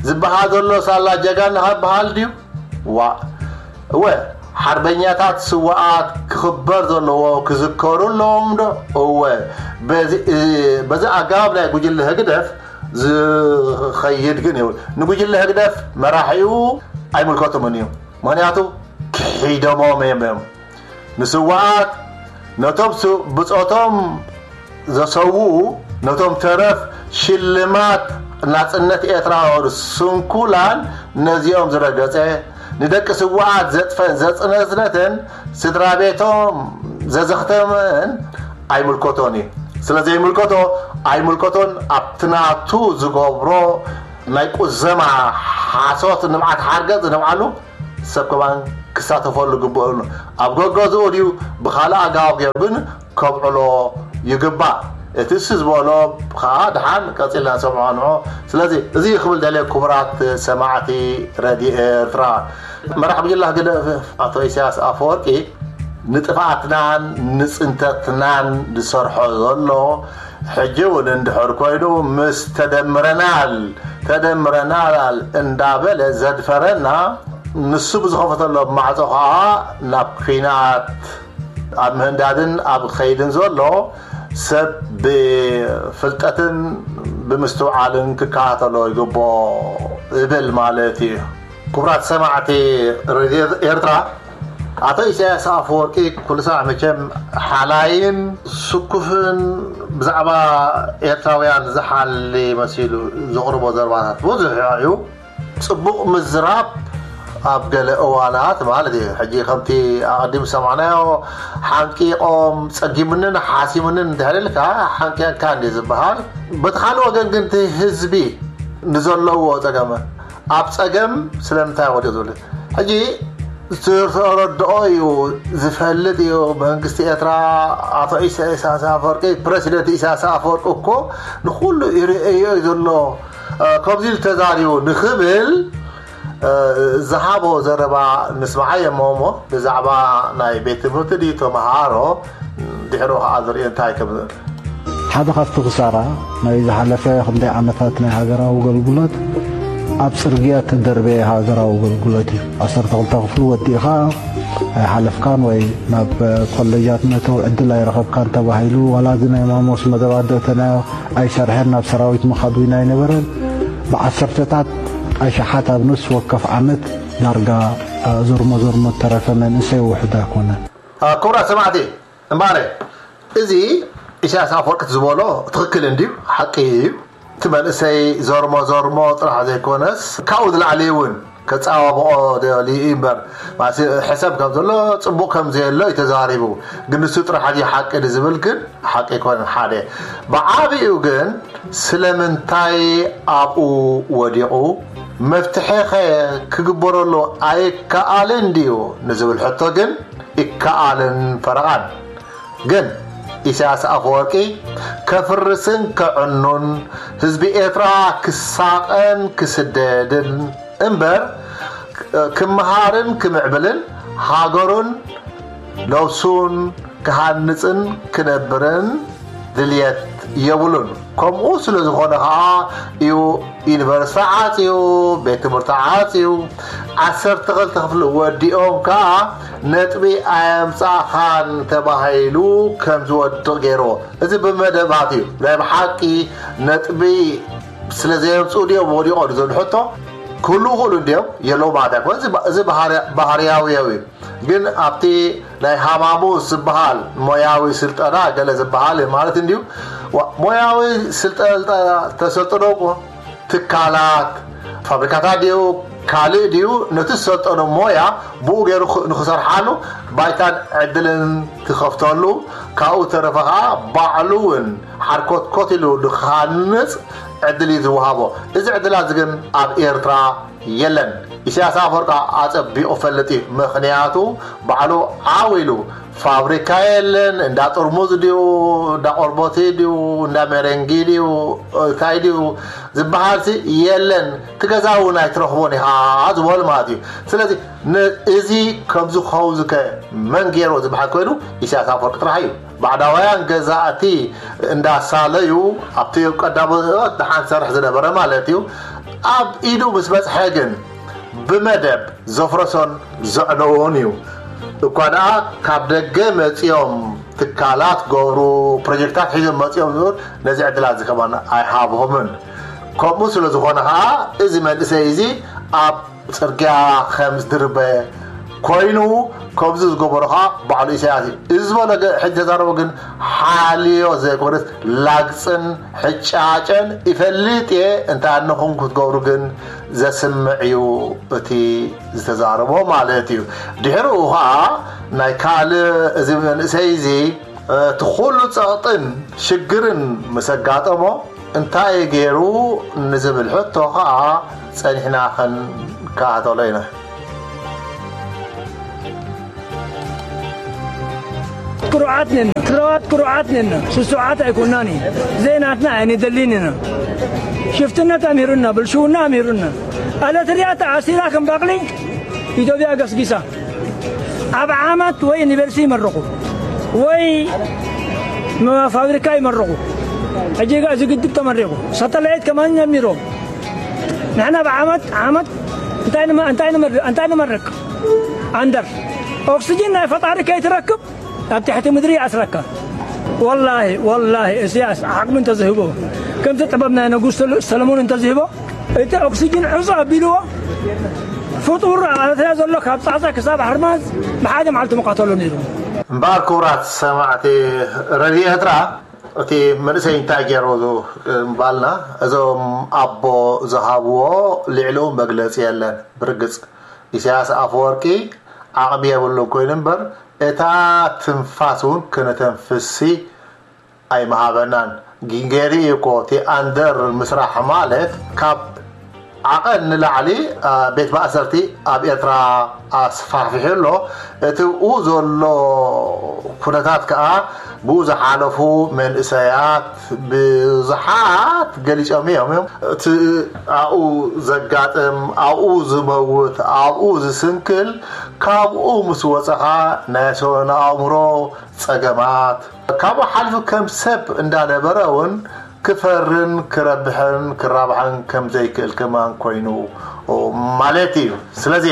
ዝበሃል ዘሎ ሳላ ጀጋና ክበሃል ድዩ? ዋ እወ ሓርበኛታት ስዋኣት ክኽበር ዘለዎ ክዝከሩ ኣለዎም ዶ? እወ በዚ ኣገባብ ናይ ጉጅለ ህግደፍ ዝኸይድ ግን ይብል ንጉጅለ ህግደፍ መራሒኡ ኣይምልከቶምን እዩ። ምክንያቱ ክሒዶሞም እዮም እዮም ንስዋኣት ነቶም ብፆቶም ዘሰውኡ ነቶም ተረፍ ሽልማት ናፅነት ኤርትራ ስንኩላን ነዚኦም ዝረገፀ ንደቂ ስዋኣት ዘጥፈን ዘፅነዝነተን ስድራ ቤቶም ዘዘኽተመን ኣይምልከቶን እዩ። ስለ ዘይምልከቶ ኣይምልከቶን ኣብቲ ናቱ ዝገብሮ ናይ ቁዘማ ሓሶት ንብዓት ሓርገፅ ንብዓሉ ሰብ ከማን ክሳተፈሉ ግብኦ እዩ። ኣብ ገገዝኡ ድዩ ብካልእ ኣገባብ ገይሩ ግን ከብዕሎ ይግባእ። እቲ እሱ ዝበሎ ከዓ ድሓን ቀፂልና ንሰምዖ ንዖ። ስለዚ እዚ ክብል ደልየ ክቡራት ሰማዕቲ ረድዮ ኤርትራ መራሕ ጉጅለ ህግደፍ ኣቶ ኢሳያስ ኣፈወርቂ ንጥፍኣትናን ንፅንተትናን ዝሰርሖ ዘሎ ሕጂ እውን እንድሕር ኮይኑ ምስ ተደምረናል ተደምረናል እንዳበለ ዘድፈረና ንሱ ብዝኸፈተሎም ማዕጾ ኸዓ ናብ ኲናት ኣብ ምህንዳድን ኣብ ኸይድን ዘሎ ሰብ ብፍልጠትን ብምስትውዓልን ክከታተሎ ይግብኦ እብል ማለት እዩ። ክቡራት ሰማዕቲ ሬድዮ ኤርትራ፣ ኣቶ ኢሳያስ ኣፈወርቂ ኩሉ ሰማዕ መቸም ሓላይን ስኩፍን ብዛዕባ ኤርትራውያን ዝሓሊ መሲሉ ዘቕርቦ ዘረባታት ብዙሕ እዩ። ጽቡቕ ምዝራብ ኣብ ገለ እዋናት ማለት እዩ። ሕጂ ከምቲ ኣቐዲም ዝሰማዕናዮ ሓንቂቖም ጸጊሙንን ሓሲሙንን እንድሕር ኢልካ ሓንቂቕካ እንዲ ዝበሃል። በቲ ካልእ ወገን ግን እቲ ህዝቢ ንዘለዎ ጸገም ኣብ ጸገም ስለምንታይ ወዲቑ ዝብል ሕጂ ዝተረድኦ እዩ፣ ዝፈልጥ እዩ። መንግስቲ ኤርትራ ኣቶ ኢሳያስ ኣፈወርቂ፣ ፕረሲደንት ኢሳያስ ኣፈወርቂ እኮ ንኹሉ ይርእዮ እዩ ዘሎ፣ እ፣ ከምዚ ኢሉ ተዛሪቡ ንኽብል፣ እ፣ ዝሃቦ ዘረባ ንስምዓዮ እሞ፣ እሞ ብዛዕባ ናይ ቤት ትምህርቲ ድዩ ተምሃሮ ድሕሩ ኸዓ ዝርእዮ እንታይ ከም ሓደ ካብቲ ክሳራ ናይ ዝሓለፈ ክንደይ ዓመታት ናይ ሃገራዊ ኣገልግሎት ኣብ ጽርግያ እተደርበየ ሃገራዊ ኣገልግሎት እዩ። ዓሰርተ ክልተ ክፍሊ ወዲእኻ ኣይሓለፍካን ወይ ናብ ኮለጃት መእተዊ ዕድል ኣይረኸብካን ተባሂሉ፣ ዋላ እዚ ናይ ማሞስ መደባት ደእተናዮ ኣይሰርሐን፣ ናብ ሰራዊት ምኻድ እውን ኣይነበረን። ብዓሰርተታት ኣሽሓት ኣብ ነፍሲ ወከፍ ዓመት ዳርጋ ዞርሞ ዞርሞ እተረፈ መንእሰይ ውሑድ ኣይኮነን። ክቡራት ሰማዕቲ፣ እምበኣር፣ እዚ ኢሳያስ ኣፈወርቂ ዝበሎ ትኽክል እንድዩ፣ ሓቂ እዩ። እቲ መንእሰይ ዞርሞ ዞርሞ ጥራሕ ዘይኮነስ፣ ካብኡ ዝላዕሊ እውን ከጸባብቖ ደልዩ እዩ እምበር፣ ማለት ሕሰብ ከም ዘሎ፣ ጽቡቕ ከም ዘየሎ እዩ ተዛሪቡ። ግን ንሱ ጥራሕ ድዩ ሓቂ ዝብል ግን ሓቂ ኣይኮነን። ሓደ። ብዓቢኡ ግን ስለምንታይ ኣብኡ ወዲቑ? መፍትሒ ኸ ክግበረሉ ኣይከኣልን ድዩ ንዝብል ሕቶ ግን ይከኣልን ፈረቓን። ግን ኢሳያስ ኣፈወርቂ ከፍርስን ከዕኑን፣ ህዝቢ ኤርትራ ክሳቐን ክስደድን እምበር፣ ክመሃርን ክምዕብልን፣ ሃገሩን ነብሱን ክሃንጽን ክነብርን ድልየት የብሉን። ከምኡ ስለ ዝኾነ ኸዓ እዩ ዩኒቨርሲቲ ዓጽዩ፣ ቤት ትምህርቲ ዓጽዩ። ዓሰርተ ክልተ ክፍሊ ወዲኦም ከኣ ነጥቢ ኣየምጻእኻን ተባሂሉ ከም ዝወድቕ ገይርዎ። እዚ ብመደባት እዩ። ናይ ብሓቂ ነጥቢ ስለ ዘየምጽኡ ድዮም ወዲቖም ዝብል ሕቶ ክህልዉ ይኽእሉ እንድዮም፣ የለዉ ማለት ኣይኮነን። እዚ ባ-፣ እዚ ባህርያ-፣ ባህርያዊ እዩ። ግን ኣብቲ ናይ ሃማሙስ ዝበሃል ሞያዊ ስልጠና ገለ ዝበሃል ማለት እንድዩ። ዋ-፣ ሞያዊ ስልጠና ተሰልጥኖ እኮ ትካላት፣ ፋብሪካታት ድዩ፣ ካልእ ድዩ፣ ነቲ ዝሰልጠኖ ሞያ ብኡ ገይሩ ኽ-፣ ንኽሰርሓሉ ባይታን ዕድልን ትኸፍተሉ፣ ካብኡ ተረፈ ኸዓ ባዕሉ እውን ሓርኮትኮት ኢሉ ንኽሃንጽ ዕድል እዩ ዝወሃቦ። እዚ ዕድላት እዚ ግን ኣብ ኤርትራ የለን። ኢሳያስ ኣፈወርቂ ኣጸቢቑ ፈልጥ እዩ። ምኽንያቱ ባዕሉ ዓው ኢሉ ፋብሪካ የለን፣ እንዳ ጥርሙዝ ድዩ፣ እንዳ ቆርቦቲ ድዩ፣ እንዳ ሜሬንጊ ድዩ፣ እንታይ ድዩ ዝበሃልሲ የለን። እቲ ገዛ እውን ኣይትረኽቦን ኢኻ ዝበሉ ማለት እዩ። ስለዚ ን-፣ እዚ ከምዚ ክኸውን ዝከ መን ገይሮ ዝበሃል ኮይኑ ኢሳያስ ኣፈወርቂ ጥራሕ እዩ። ባዕዳውያን ገዛእቲ እንዳሳለዩ ኣብቲ ቀዳሞት ደሓን ሰርሕ ዝነበረ ማለት እዩ። ኣብ ኢዱ ምስ በጽሐ ግን ብመደብ ዘፍረሶን ዘዕነዎን እዩ። እኳ ደኣ ካብ ደገ መጺኦም ትካላት ገብሩ፣ ፕሮጀክታት ሒዞም መጺኦም ዝብል ነዚ ዕድላት እዚ ከማን ኣይሃብሆምን። ከምኡ ስለ ዝኾነ ኸኣ እዚ መንእሰይ እዚ ኣብ ጽርግያ ከም ዝድርበ ኮይኑ፣ ከምዚ ዝገበሮ ኸኣ ባዕሉ ኢሳያስ እዩ። እዚ ዝበሎ ገ-፣ ሕጂ ተዛረቦ ግን ሓልዮ ዘይኮነስ ላግጽን ሕጫጨን ይፈልጥ እየ፣ እንታይ ኣነኹም ክትገብሩ ግን ዘስምዕ እዩ እቲ ዝተዛረቦ ማለት እዩ። ድሕሪኡ ኸኣ ናይ ካልእ እዚ መንእሰይ እዚ እቲ ኩሉ ጸቕጥን ሽግርን ምስ ኣጋጠሞ እንታይ ገይሩ ንዝብል ሕቶ ኸኣ ጸኒሕና ክንከታተሎ ኢና። ክሩዓት ነን፣ ትግራዋት ክሩዓት ነን፣ ስሱዓት ኣይኮናን እዩ። ዘይናትና ኣይንደልን ኢና። ሽፍትነት ኣምሂሩና፣ ብልሽውና ኣምሂሩና። ኣለትርያ ተኣሲራ ከም ባቕሊ ኢትዮጵያ ገስጊሳ። ኣብ ዓመት ወይ ዩኒቨርሲቲ ይመረቑ ወይ መ-፣ ፋብሪካ ይመረቑ። ሕጂ ጋ እዚ ግድብ ተመሪቑ። ሳተላይት ከማን ጀሚሮም። ንሕና ብዓመት፣ ዓመት እንታይ ንመ- እንታይ ንመር- እንታይ ንመርቅ ኣንደር ኦክስጅን ናይ ፈጣሪ ከይትረክብ ኣብ ትሕቲ ምድሪ ይኣስረካ። ወላሂ ወላሂ እስያስ ዓቕሚ እንተዝህቦ፣ ከምቲ ጥበብ ናይ ንጉስ ሰሎ- ሰለሞን እንተዝህቦ፣ እቲ ኦክስጅን ዕጾ ኣቢልዎ፣ ፍጡር ኣብ ኤርትራ ዘሎ ካብ ጻጻ ክሳብ ሓርማዝ ብሓደ መዓልቲ ምቐተሎ ነይሩ። እምበኣር ክቡራት ሰማዕቲ ረድዮ ኤርትራ፣ እቲ መንእሰይ እንታይ ገይሩ ምባልና፣ እዞም ኣቦ ዝሃብዎ ልዕሊኡ መግለጺ የለን። ብርግጽ ኢሳያስ ኣፈወርቂ ዓቕሚ የብሉን ኮይኑ እምበር፣ እታ ትንፋስ እውን ክነተንፍሲ ኣይምሃበናን። ጊንጌሪ እኮ እቲ ኣንደር ምስራሕ ማለት ካብ ዓቐን ንላዕሊ ቤት ማእሰርቲ ኣብ ኤርትራ ኣስፋሕፊሑ ኣሎ። እቲ ብኡ ዘሎ ኩነታት ከዓ ብኡ ዝሓለፉ መንእሰያት ብዙሓት ገሊጾም እዮም። እቲ ኣብኡ ዘጋጥም፣ ኣብኡ ዝመውት፣ ኣብኡ ዝስንክል፣ ካብኡ ምስ ወጸኻ ናይ ሰውነ ኣእምሮ ጸገማት፣ ካብኡ ሓልፉ ከም ሰብ እንዳነበረ እውን ክፈርን ክረብሕን ክራብሕን ከም ዘይክእል ከማን ኮይኑ ማለት እዩ። ስለዚ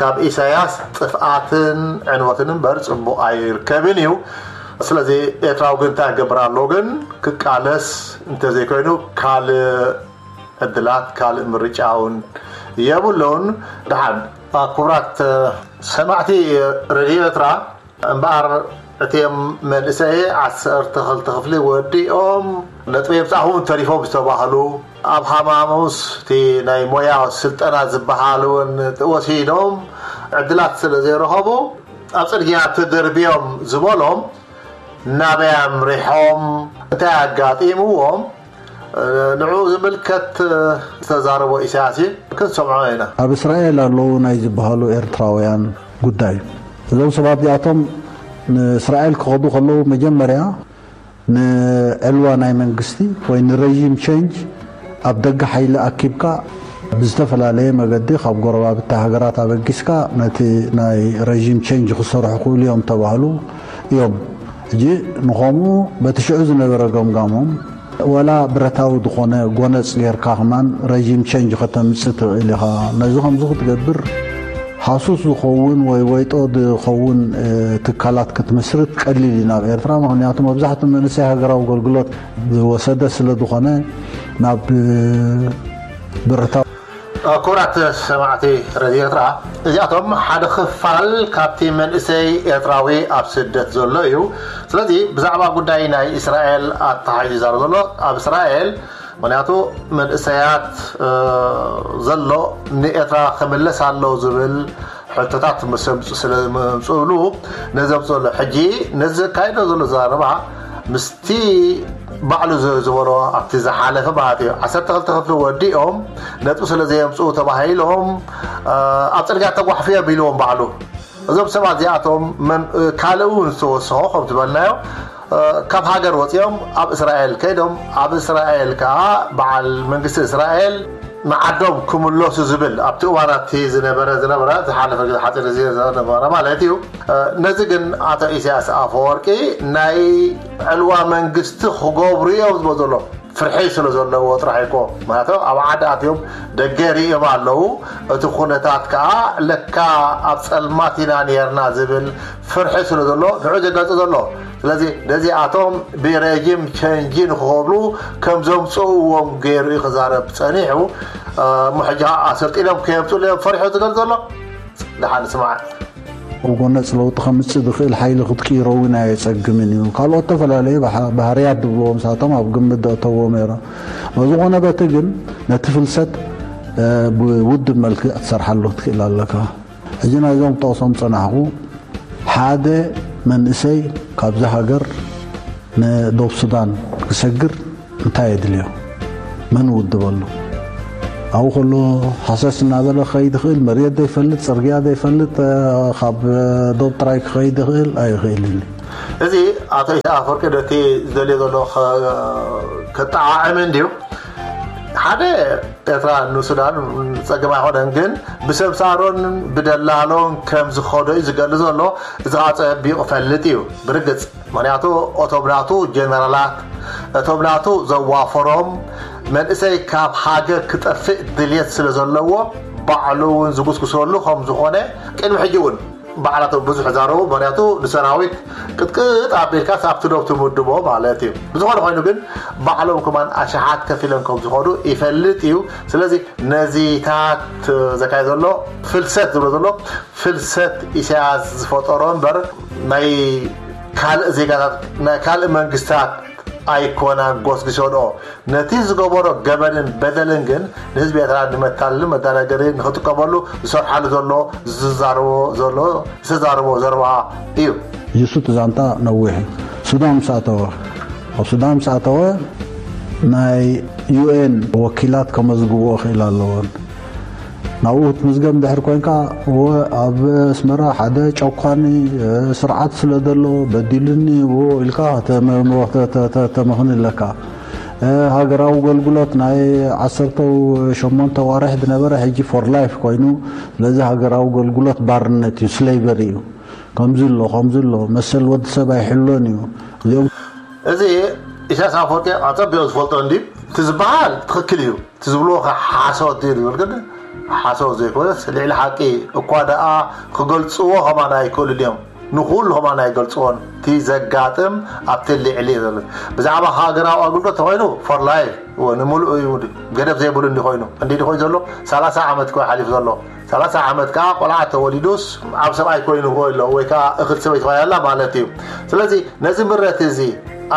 ካብ ኢሳያስ ጥፍኣትን ዕንወትን እምበር ጽቡቕ ኣይርከብን እዩ። ስለዚ ኤርትራዊ ግን እንታይ ክገብር ኣለዎ ግን? ክቃለስ እንተዘይኮይኑ ካልእ ዕድላት ካልእ ምርጫ እውን የብሉን። ደሓን ክቡራት ሰማዕቲ ረድዮ ኤርትራ፣ እምበኣር እቲኦም መንእሰይ ዓሰርተ ክልተ ክፍሊ ወዲኦም ነጥቢ የምጻእኹም ተሪፎም ዝተባህሉ፣ ኣብ ሃማሙስ እቲ ናይ ሞያ ስልጠና ዝበሃል እውን ወሲዶም ዕድላት ስለ ዘይረኸቡ ኣብ ጽርግያ ተደርብዮም ዝበሎም ናበይ ኣምሪሖም እንታይ ኣጋጢምዎም ንዑ ዝምልከት ዝተዛረቦ ኢሳያስ እዩ። ክንሰምዖ ኢና። ኣብ እስራኤል ኣለዉ ናይ ዝበሃሉ ኤርትራውያን ጉዳይ እዩ። እዞም ሰባት እዚኣቶም ንእስራኤል ክኸዱ ከለዉ መጀመርያ ንዕልዋ ናይ መንግስቲ ወይ ንረዥም ቸንጅ ኣብ ደገ ሓይሊ ኣኪብካ ብዝተፈላለየ መገዲ ካብ ጎረባብቲ ሃገራት ኣበጊስካ ነቲ ናይ ረዥም ቸንጅ ክሰርሑ ክእሉ እዮም ተባህሉ እዮም። ሕጂ ንኸምኡ በቲ ሽዑ ዝነበረ ገምጋሞም ወላ ብረታዊ ዝኾነ ጎነፅ ጌርካ ከማን ረዥም ቸንጅ ከተምፅእ ትኽእል ኢኻ። ነዚ ከምዚ ክትገብር ሃሱስ ዝኸውን ወይ ወይጦ ዝኸውን ትካላት ክትምስርት ቀሊል እዩ ናብ ኤርትራ። ምክንያቱ መብዛሕትኡ መንእሰይ ሃገራዊ ኣገልግሎት ዝወሰደ ስለ ዝኾነ ናብ ብረታዊ ክቡራት ሰማዕቲ ረድዮ ኤርትራ፣ እዚኣቶም ሓደ ክፋል ካብቲ መንእሰይ ኤርትራዊ ኣብ ስደት ዘሎ እዩ። ስለዚ ብዛዕባ ጉዳይ ናይ እስራኤል ኣተሓሒዙ ይዛረብ ዘሎ ኣብ እስራኤል ምክንያቱ መንእሰያት ዘሎ ንኤርትራ ክምለስ ኣለዎ ዝብል ሕቶታት ምስ ኣምፅኡ ስለ መምፅእሉ ነዚ ኣምፅእሉ ሕጂ ነዚ ዘካይዶ ዘሎ ዘረባ ምስቲ ባዕሉ ዝበሎ ኣብቲ ዝሓለፈ ማለት እዩ ዓሰርተ ክልተ ክፍሊ ወዲኦም ነጥቢ ስለ ዘየምፅኡ ተባሂሎም ኣብ ፅርግያ ተጓሕፉ እዮም ኢልዎም ባዕሉ። እዞም ሰባት እዚኣቶም ካልእ እውን ዝተወሰኾ ከም ዝበልናዮ ካብ ሃገር ወፂኦም ኣብ እስራኤል ከይዶም ኣብ እስራኤል ከዓ በዓል መንግስቲ እስራኤል ንዓዶም ክምለሱ ዝብል ኣብቲ እዋናት ዝነበረ ዝነበረ ዝሓለፈ ግዜ ሓፂር ግዜ ዝነበረ ማለት እዩ። ነዚ ግን ኣቶ ኢሳያስ ኣፈወርቂ ናይ ዕልዋ መንግስቲ ክገብሩ እዮም ዝብሎ ዘሎ ፍርሒ ስለ ዘለዎ ጥራሕ እኮ ማለት ኣብ ዓዲ ኣትዮም ደገ ሪእም ኣለዉ። እቲ ኩነታት ከዓ ለካ ኣብ ፀልማት ኢና ነርና ዝብል ፍርሒ ስለ ዘሎ ንዑ ዘጋልፅ ዘሎ። ስለዚ ነዚኣቶም ብረጅም ቸንጂ ንክኸብሉ ከም ዘምፅእዎም ገይሩ እዩ ክዛረብ ፀኒሑ። እሞ ሕጂ ከዓ ኣሰልጢኖም ከየምፅሉ እዮም ፈሪሑ ዝገልፅ ዘሎ። ደሓን ስማዕ። ኣብ ጎነፅ ለውጢ ከምፅእ ዝኽእል ሓይሊ ክትቅይሮ እውን ኣየፀግምን እዩ። ካልኦት ዝተፈላለዩ ባህርያት ዝብልዎም ንሳቶም ኣብ ግምት ዘእተዎም ነይሮም። በዝኾነ በቲ ግን ነቲ ፍልሰት ብውድብ መልክዕ ክትሰርሓሉ ክትክእል ኣለካ። ሕጂ ናይዞም ክጠቕሶም ዝፀናሕኹ ሓደ መንእሰይ ካብዚ ሃገር ንዶብ ሱዳን ክሰግር እንታይ የድልዮ? መን ውድበሉ? ኣብኡ ከሎ ሃሰስ እናበለ ክኸይድ ይኽእል፣ መሬት ዘይፈልጥ፣ ፅርግያ ዘይፈልጥ ካብ ዶብ ጥራይ ክኸይድ ይኽእል ኣይኽእልን እዩ። እዚ ኣቶ ኢሳያስ ኣፈወርቂ ነቲ ዝደልዮ ዘሎ ከጠዓዕም እንድዩ ሓደ ኤርትራ ንሱዳን ፀገም ኣይኮነን፣ ግን ብሰምሳሮን ብደላሎን ከም ዝኸዶ እዩ ዝገልፅ ዘሎ። እዚ ከዓ ፀቢቑ ፈልጥ እዩ ብርግፅ። ምክንያቱ እቶም ናቱ ጀነራላት እቶም ናቱ ዘዋፈሮም መንእሰይ ካብ ሃገር ክጠፍእ ድልየት ስለ ዘለዎ ባዕሉ እውን ዝጉስጉሰሉ ከም ዝኾነ ቅድሚ ሕጂ እውን ባዕላቶም ብዙሕ ዛረቡ። ምክንያቱ ንሰራዊት ቅጥቅጥ ኣቢልካ ኣብቲ ዶብ ትምድቦ ማለት እዩ። ብዝኾነ ኮይኑ ግን ባዕሎም ከማን ኣሽሓት ከፊሎም ከም ዝኾኑ ይፈልጥ እዩ። ስለዚ ነዚታት ዘካየ ዘሎ ፍልሰት ዝብሎ ዘሎ ፍልሰት ኢሳያስ ዝፈጠሮ እምበር ናይ ካልእ ዜጋታት ናይ ካልእ መንግስታት ኣይኮናን ጎስጊሶንኦ። ነቲ ዝገበሮ ገበንን በደልን ግን ንህዝቢ ኤርትራ ንመታለልን መዳናገሪ ንክጥቀመሉ ዝሰርሓሉ ዘሎ ዝዛረቦ ዘሎ ዝተዛረቦ ዘረባ እዩ። ይሱ እቲ ዛንታ ነዊሕ እዩ። ሱዳን ምስ ኣተወ ኣብ ሱዳን ምስ ኣተወ ናይ ዩኤን ወኪላት ከመዝግብኦ ክእል ኣለዎን። ናብኡ ክትምዝገብ እንድሕር ኮይንካ እወ ኣብ ኣስመራ ሓደ ጨኳኒ ስርዓት ስለ ዘሎ በዲሉኒ እዎ ኢልካ ተመኽኒ ኣለካ። ሃገራዊ ኣገልግሎት ናይ ዓሰርተ ሸሞንተ ዋርሕ ዝነበረ ሕጂ for life ኮይኑ። ስለዚ ሃገራዊ ኣገልግሎት ባርነት እዩ፣ slavery እዩ። ከምዚ ኣሎ ከምዚ ኣሎ መሰል ወዲ ሰብ ኣይሕሎን እዩ። እዚኦም እዚ ኢሳያስ ኣፈወርቂ ኣጸቢቑ ዝፈልጦ እንዲ እቲ ዝበሃል ትኽክል እዩ። እቲ ዝብልዎ ከ ሓሶት ድዩ ዝብል ግን ሓሶት ዘይኮነስ ልዕሊ ሓቂ እኳ ደኣ ክገልጽዎ ከማን ኣይክእሉን እዮም። ንኹሉ ከማን ኣይገልጽዎን። እቲ ዘጋጥም ኣብቲ ልዕሊ እዩ ዘሎ። ብዛዕባ ሃገራዊ ኣገልግሎት ተኾይኑ for life እወ ንምሉእ እዩ። ገደብ ዘይብሉ እንዲ ኮይኑ እንዲ ኮይኑ ዘሎ ሰላሳ ዓመት እኮ ሓሊፉ ዘሎ። ሰላሳ ዓመት ከዓ ቆልዓ ተወሊዱስ ዓብ ሰብኣይ ኮይኑ ይኽእል ኣሎ ወይ ከዓ እኽል ሰበይቲ ኮይና ኣላ ማለት እዩ። ስለዚ ነዚ ምረት እዚ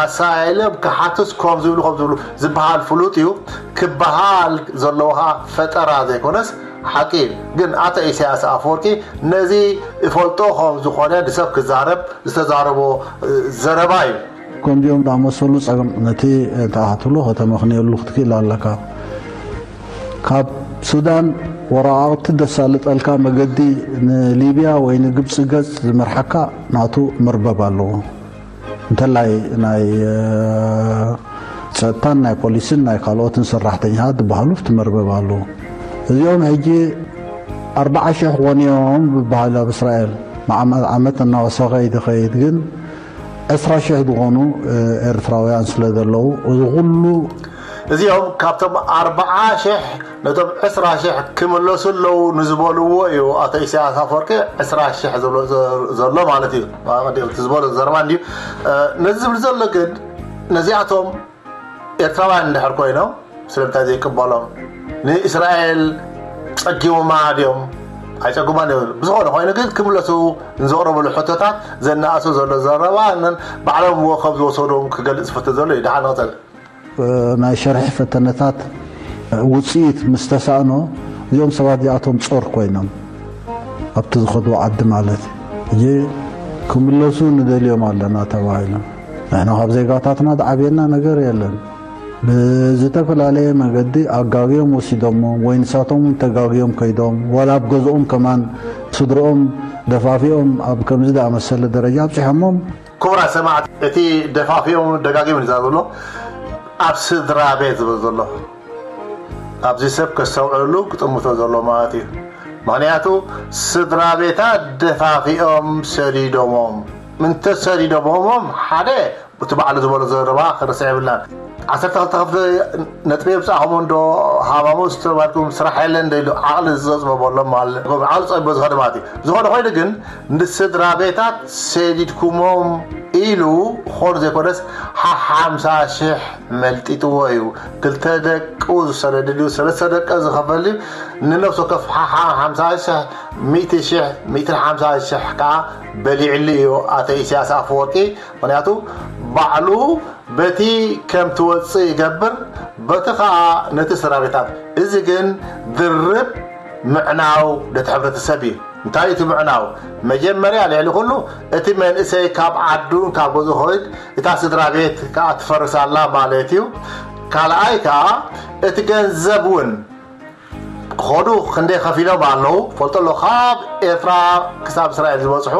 ኣሳኢሎም ክሓቱስ ከም ዝብሉ ከም ዝብሉ ዝበሃል ፍሉጥ እዩ። ክበሃል ዘለዎ ከዓ ፈጠራ ዘይኮነስ ሓቂ እዩ። ግን ኣቶ ኢሳያስ ኣፈወርቂ ነዚ እፈልጦ ከም ዝኾነ ንሰብ ክዛረብ ዝተዛረቦ ዘረባ እዩ። ከምዚኦም ዝኣመሰሉ ጸገም ነቲ ተኣትሎ ከተመኽንየሉ ክትክእል ኣለካ። ካብ ሱዳን ወረቓቕቲ ዘሳልጠልካ መገዲ ንሊብያ ወይ ንግብጺ ገጽ ዝመርሓካ ናቱ መርበብ ኣለዎ። እንተላይ ናይ ጸጥታን ናይ ፖሊስን ናይ ካልኦትን ሰራሕተኛታት ዝበሃሉ ኣብቲ መርበብ ኣለዉ። እዚኦም ሕጂ ኣርብዓ ሽሕ ክኾኑ እዮም ዝበሃል ኣብ እስራኤል ዓመት እናወሰኸ እዩ ዝኸይድ። ግን ዕስራ ሽሕ ዝኾኑ ኤርትራውያን ስለ ዘለዉ እዚ ኩሉ እዚኦም ካብቶም ኣርብዓ ሽሕ ነቶም ዕስራ ሽሕ ክምለሱ ኣለዉ ንዝበልዎ እዩ ኣቶ ኢሳያስ ኣፈወርቂ ዕስራ ሽሕ ዝብሎ ዘሎ ማለት እዩ። እቲ ዝበሎ ዘረባ እንድዩ። ነዚ ዝብል ዘሎ ግን ነዚኣቶም ኤርትራውያን እንድሕር ኮይኖም ስለምንታይ ዘይቅበሎም? ንእስራኤል ጸጊሞማ ድዮም? ኣይጸጉማን እዮም። ብዝኾነ ኮይኑ ግን ክምለሱ ንዘቕረበሉ ሕቶታት ዘናእሶ ዘሎ ዘረባ ባዕሎም ወከብ ዝወሰዶም ክገልጽ ዝፈቱ ዘሎ እዩ። ደሓን ንቐጸል። ናይ ሸርሒ ፈተነታት ውፅኢት ምስ ተሳእኖ እዚኦም ሰባት እዚኣቶም ፆር ኮይኖም ኣብቲ ዝኸድዎ ዓዲ ማለት ሕጂ ክምለሱ ንደልዮም ኣለና ተባሂሎም። ንሕና ካብ ዜጋታትና ዝዓብየና ነገር የለን። ብዝተፈላለየ መገዲ ኣጋግዮም ወሲዶሞም ወይ ንሳቶም እውን ተጋግዮም ከይዶም ዋላ ኣብ ገዝኦም ከማን ስድርኦም ደፋፊኦም ኣብ ከምዚ ዝኣመሰለ ደረጃ ኣብፂሖሞም። ክቡራት ሰማዕቲ፣ እቲ ደፋፊኦም ደጋጊሙ ዝዛረብ ዘሎ ኣብ ስድራ ቤት ዝብል ዘሎ ኣብዚ ሰብ ከስተውዕለሉ ክጥምቶ ዘሎ ማለት እዩ። ምኽንያቱ ስድራ ቤታት ደፋፊኦም ሰዲዶሞም። እንተ ሰዲዶሞም ሓደ እቲ ባዕሉ ዝበሎ ዘረባ ክርሳዕ የብልናን። ዓሰርተ ክልተ ክፍሊ ነጥቢ የብፃእኹም እንዶ ሃማሙስ ተባልኩም ስራሕ የለን ዶ ኢሉ ዓቕሊ ዝፀፅበበሎም ማለት ዓቕሊ ፀቢቦ ዝኸደ ማለት እዩ። ዝኾነ ኮይኑ ግን ንስድራ ቤታት ሰዲድኩሞም ኢሉ ኾር ዘይኮነስ ሓሓምሳ ሽሕ መልጢጥዎ እዩ። ክልተ ደቁ ዝሰደድልዩ ሰለስተ ደቀ ዝኸፈልዩ ንነፍሱ ከፍ ሓሓ ሓምሳ ሽሕ ሚእቲ ሽሕ ሚእትን ሓምሳ ሽሕ ከዓ በሊዕሉ እዩ ኣቶ ኢሳያስ ኣፈወርቂ። ምክንያቱ ባዕሉ በቲ ከም ትወፅእ ይገብር በቲ ከዓ ነቲ ሰራዊታት እዚ ግን ድርብ ምዕናው ነቲ ሕብረተሰብ እዩ። እንታይ እቲ ምዕናው? መጀመርያ ልዕሊ ኩሉ እቲ መንእሰይ ካብ ዓዱ ካብ ገዝኡ ክኸይድ እታ ስድራ ቤት ከዓ ትፈርስ ኣላ ማለት እዩ። ካልኣይ ከዓ እቲ ገንዘብ እውን ኸዱ ክንደይ ከፊሎም ኣለዉ ፈልጦ ኣሎ ካብ ኤርትራ ክሳብ እስራኤል ዝበፅሑ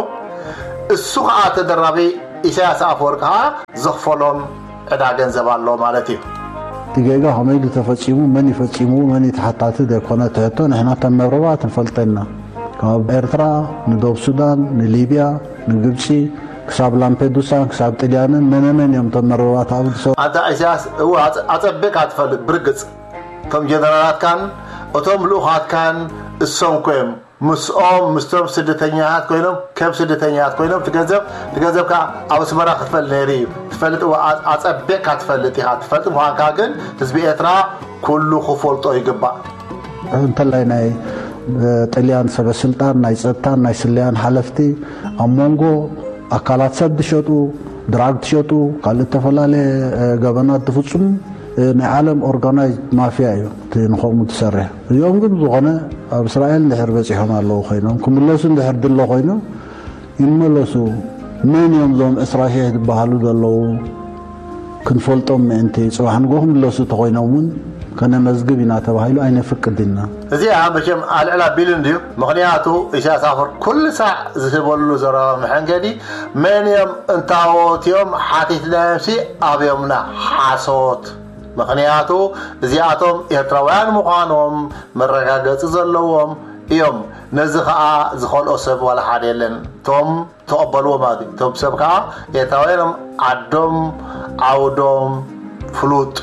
እሱ ከዓ ተደራቢ ኢሳያስ ኣፈወርቂ ከዓ ዘኽፈሎም ዕዳ ገንዘብ ኣሎ ማለት እዩ። እቲ ጌጋ ከመይ ኢሉ ተፈፂሙ፣ መን እዩ ፈፂምዎ፣ መን እዩ ተሓታቲ ዘይኮነ እቲ ሕቶ ንሕና ከም መረባት ንፈልጦ ኢና። ካብ ኤርትራ ንዶብ ሱዳን ንሊብያ ንግብፂ ክሳብ ላምፔዱሳን ክሳብ ጥልያንን መነመን እዮም እቶም መረባት ኣብኡ ዝሰ ኣንታ ኢሳያስ እወ ኣጸቢቕካ ትፈልጥ ብርግጽ እቶም ጀነራላትካን እቶም ልኡኻትካን እሶም ኮይኖም ምስኦም ምስቶም ስደተኛታት ኮይኖም ከም ስደተኛታት ኮይኖም ትገንዘብ ትገንዘብ ከዓ ኣብ ኣስመራ ክፈል ነይሩ እዩ። ትፈልጥ ዋ- ኣ- ኣጸቢቕካ ትፈልጥ ኢኻ። ትፈልጥ ምዃንካ ግን ህዝቢ ኤርትራ ኩሉ ክፈልጦ ይግባእ። እንተላይ ናይ ጥልያን ሰበ ስልጣን ናይ ጸጥታን ናይ ስለያን ሓለፍቲ ኣብ መንጎ ኣካላት ሰብ ዝሸጡ፣ ድራግ ትሸጡ፣ ካልእ ዝተፈላለየ ገበናት ዝፍጽሙ ናይ ዓለም ኦርጋናይዝድ ማፍያ እዩ እቲ ንኸምኡ ትሰርሕ። እዚኦም ግን ዝኾነ ኣብ እስራኤል እንድሕር በፂሖም ኣለዉ ኮይኖም ክምለሱ እንድሕር ድሎ ኮይኑ ይመለሱ። መን እዮም እዞም ዕስራ ሺሕ ዝበሃሉ ዘለዉ? ክንፈልጦም ምእንቲ ጽባሕ ንግሆ ክምለሱ ተኾይኖም እውን ከነመዝግብ ኢና ተባሂሉ ኣይነፍቅድ ኢና። እዚኣ መቸም ኣልዕል ኣቢሉ እንድዩ። ምኽንያቱ ኢሳያስ ኣፈወርቂ ኩሉ ሳዕ ዝህበሉ ዘረባ መሐንገዲ መን እዮም እንታወት እዮም ሓቲትናዮምሲ ኣብዮምና ሓሶት። ምኽንያቱ እዚኣቶም ኤርትራውያን ምዃኖም መረጋገጺ ዘለዎም እዮም። ነዚ ኸኣ ዝኸልኦ ሰብ ዋላ ሓደ የለን። እቶም ተቐበልዎ ማለት እዩ። እቶም ሰብ ከዓ ኤርትራውያን እዮም። ዓዶም ዓውዶም ፍሉጥ።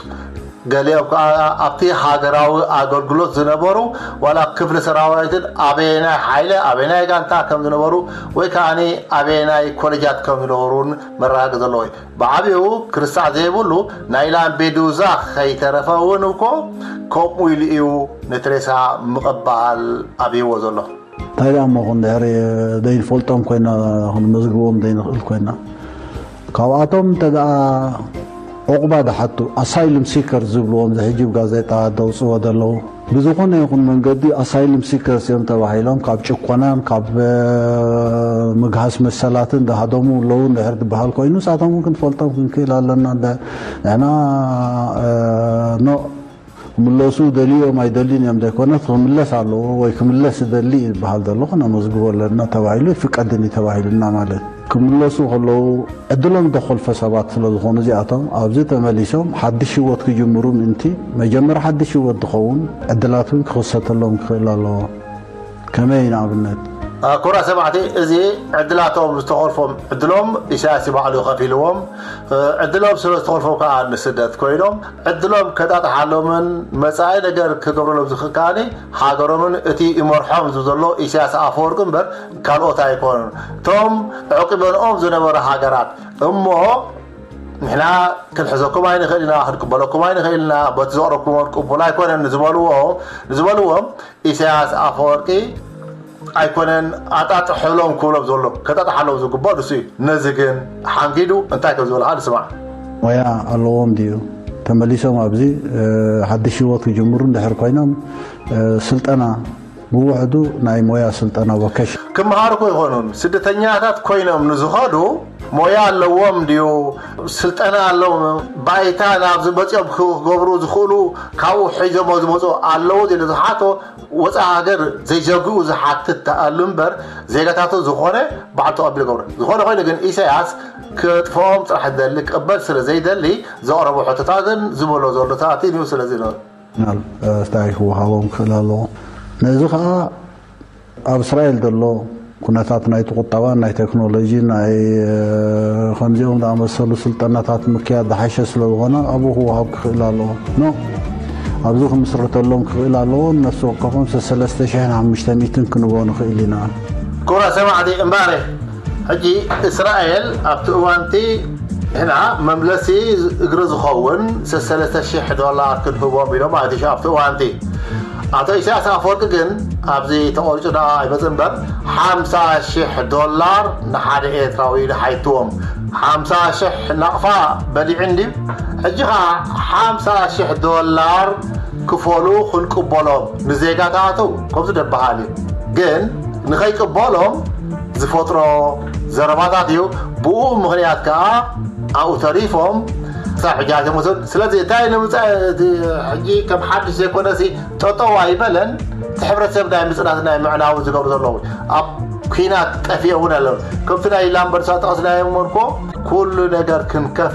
ገሊኦም ከዓ ኣብቲ ሃገራዊ ኣገልግሎት ዝነበሩ ዋላ ክፍሊ ሰራዊትን ኣበየናይ ሓይለ ኣበየናይ ጋንታ ከም ዝነበሩ ወይ ከዓ ኣበየናይ ኮሌጃት ከም ዝነበሩን መረጋገፂ ዘለዎ እዩ። ብዓብኡ ክርሳዕ ዘይብሉ ናይ ላምፔዱዛ ከይተረፈ እውን እኮ ከምኡ ኢሉ እዩ ነቲ ሬሳ ምቕባል ኣብይዎ ዘሎ። እንታይ ደኣ እሞ ክንድሕር ዘይንፈልጦም ኮይና ክንመዝግቦም ዘይንኽእል ኮይና ካብኣቶም እንተ ደኣ ዑቕባ ዝሓቱ ኣሳይሉም ሲከር ዝብልዎም ዝሕጂ ብጋዜጣ ዘውፅዎ ዘለዉ ብዝኾነ ይኹን መንገዲ ኣሳይሉም ሲከርስ እዮም ተባሂሎም ካብ ጭኮናን ካብ ምግሃስ መሰላትን ዝሃደሙ ኣለዉ እንድሕር ዝበሃል ኮይኑ ንሳቶም እውን ክንፈልጦም ክንክእል ኣለና ንሕና ኖ ክምለሱ ደልዮም ኣይደልዩን እዮም ዘይኮነስ ክምለስ ኣለዎ ወይ ክምለስ ዝደሊ እዩ ዝበሃል ዘሎ ክነመዝግቦ ኣለና ተባሂሉ ይፍቀድን እዩ ተባሂሉና ማለት ክምለሱ ከለዉ ዕድሎም ዝተኾልፈ ሰባት ስለ ዝኾኑ እዚኣቶም ኣብዚ ተመሊሶም ሓድሽ ህይወት ክጅምሩ ምእንቲ መጀመር ሓድሽ ህይወት ዝኸውን ዕድላት እውን ክኽሰተሎም ክኽእል ኣለዎ። ከመይ ንኣብነት? ክቡራት ሰማዕቲ፣ እዚ ዕድላቶም ዝተኾልፎም ዕድሎም ኢሳያስ ባዕሉ ከፊልዎም፣ ዕድሎም ስለ ዝተኾልፎም ከዓ ንስደት ኮይኖም ዕድሎም ከጣጥሓሎምን መጻኢ ነገር ክገብረሎም ዝኽእል ከዓኒ ሃገሮምን እቲ ይመርሖም ዝብል ዘሎ ኢሳያስ ኣፈወርቂ እምበር ካልኦት ኣይኮኑን። እቶም ኣዕቂበንኦም ዝነበሩ ሃገራት እሞ ንሕና ክንሕዘኩም ኣይንኽእል ኢና፣ ክንቅበለኩም ኣይንኽእል ኢና፣ በቲ ዘቕረብኩምዎ ቅቡል ኣይኮነን ንዝበልዎ ንዝበልዎም ኢሳያስ ኣፈወርቂ ኣይኮነን ኣጣጥሐሎም ክብሎም ዘሎ ከጣጥሓሎም ዝግባእ ንሱ እዩ። ነዚ ግን ሓንጊዱ እንታይ ከም ዝበልካ ንስማዕ። ሞያ ኣለዎም ድዩ? ተመሊሶም ኣብዚ ሓድሽ ህይወት ክጅምሩ እንድሕር ኮይኖም ስልጠና ብውሕዱ ናይ ሞያ ስልጠና ቮኬሽን። ክመሃሩ እኮ ይኾኑን ስደተኛታት ኮይኖም ንዝኸዱ ሞያ ኣለዎም ድዩ? ስልጠና ኣለዎም ባይታ ናብዚ መፂኦም ክገብሩ ዝኽእሉ ካብኡ ሒዞሞ ዝመፁ ኣለዉ ኢሉ ዝሓቶ ወፃኢ ሃገር ዘይዘግኡ ዝሓትት ተኣሉ እምበር ዜጋታቱ ዝኾነ ባዕሉ ተቐቢሉ ገብረ ዝኾነ ኮይኑ ግን ኢሳያስ ክጥፍኦም ጥራሕ ደሊ ክቕበል ስለ ዘይደሊ ዘቕረቦ ሕቶታትን ዝበሎ ዘሎታትን እዩ ስለዚ ነው። ናል ኣስታይ ክወሃቦም ክኽእል ኣለዎ። ነዚ ከዓ ኣብ እስራኤል ዘሎ ኩነታት ናይቲ ቁጠባን ናይ ቴክኖሎጂ ናይ ከምዚኦም ዝኣመሰሉ ስልጠናታት ምክያድ ዝሓሸ ስለ ዝኾነ ኣብኡ ክወሃብ ክኽእል ኣለዎ። ኖ ኣብዚ ክምስርተሎም ክኽእል ኣለዎ። ነፍሲ ወከፎም ሰለስተ ሽሕን ሓሙሽተ ሚእትን ክንቦ ንኽእል ኢና። ክቡራት ሰማዕቲ እምባረ ሕጂ እስራኤል ኣብቲ እዋንቲ ንሕና መምለሲ እግሪ ዝኸውን ሰለስተ ሽሕ ዶላር ክንህቦም ኢሎም ማለት እዩ ኣብቲ እዋንቲ ኣቶ ኢሳያስ ኣፈወርቂ ግን ኣብዚ ተቆሪፁ ዳ ኣይመፅ እምበር ሓምሳ ሽሕ ዶላር ንሓደ ኤርትራዊ ኢሉ ሓይትዎም ሓምሳ ሽሕ ናቕፋ በሊዑ እንድዩ ሕጂ ከዓ ሓምሳ ሽሕ ዶላር ክፈሉ ክንቅበሎም ንዜጋታቱ ከምዚ ደበሃል እዩ ግን ንኸይቅበሎም ዝፈጥሮ ዘረባታት እዩ ብኡ ምኽንያት ከዓ ኣብኡ ተሪፎም ክሳብ ሕጂ ኣይተመሰሉ ስለዚ እንታይ ንምፃእ ሕጂ ከም ሓድሽ ዘይኮነሲ ጠጠው ኣይበለን እቲ ሕብረተሰብ ናይ ምፅናት ናይ ምዕናው ዝገብሩ ዘለዉ ኣብ ኲናት ጠፊኦ እውን ኣለዉ ከምቲ ናይ ላምበርሳ ጠቕስናዮም ወንኮ ኩሉ ነገር ክንከፍ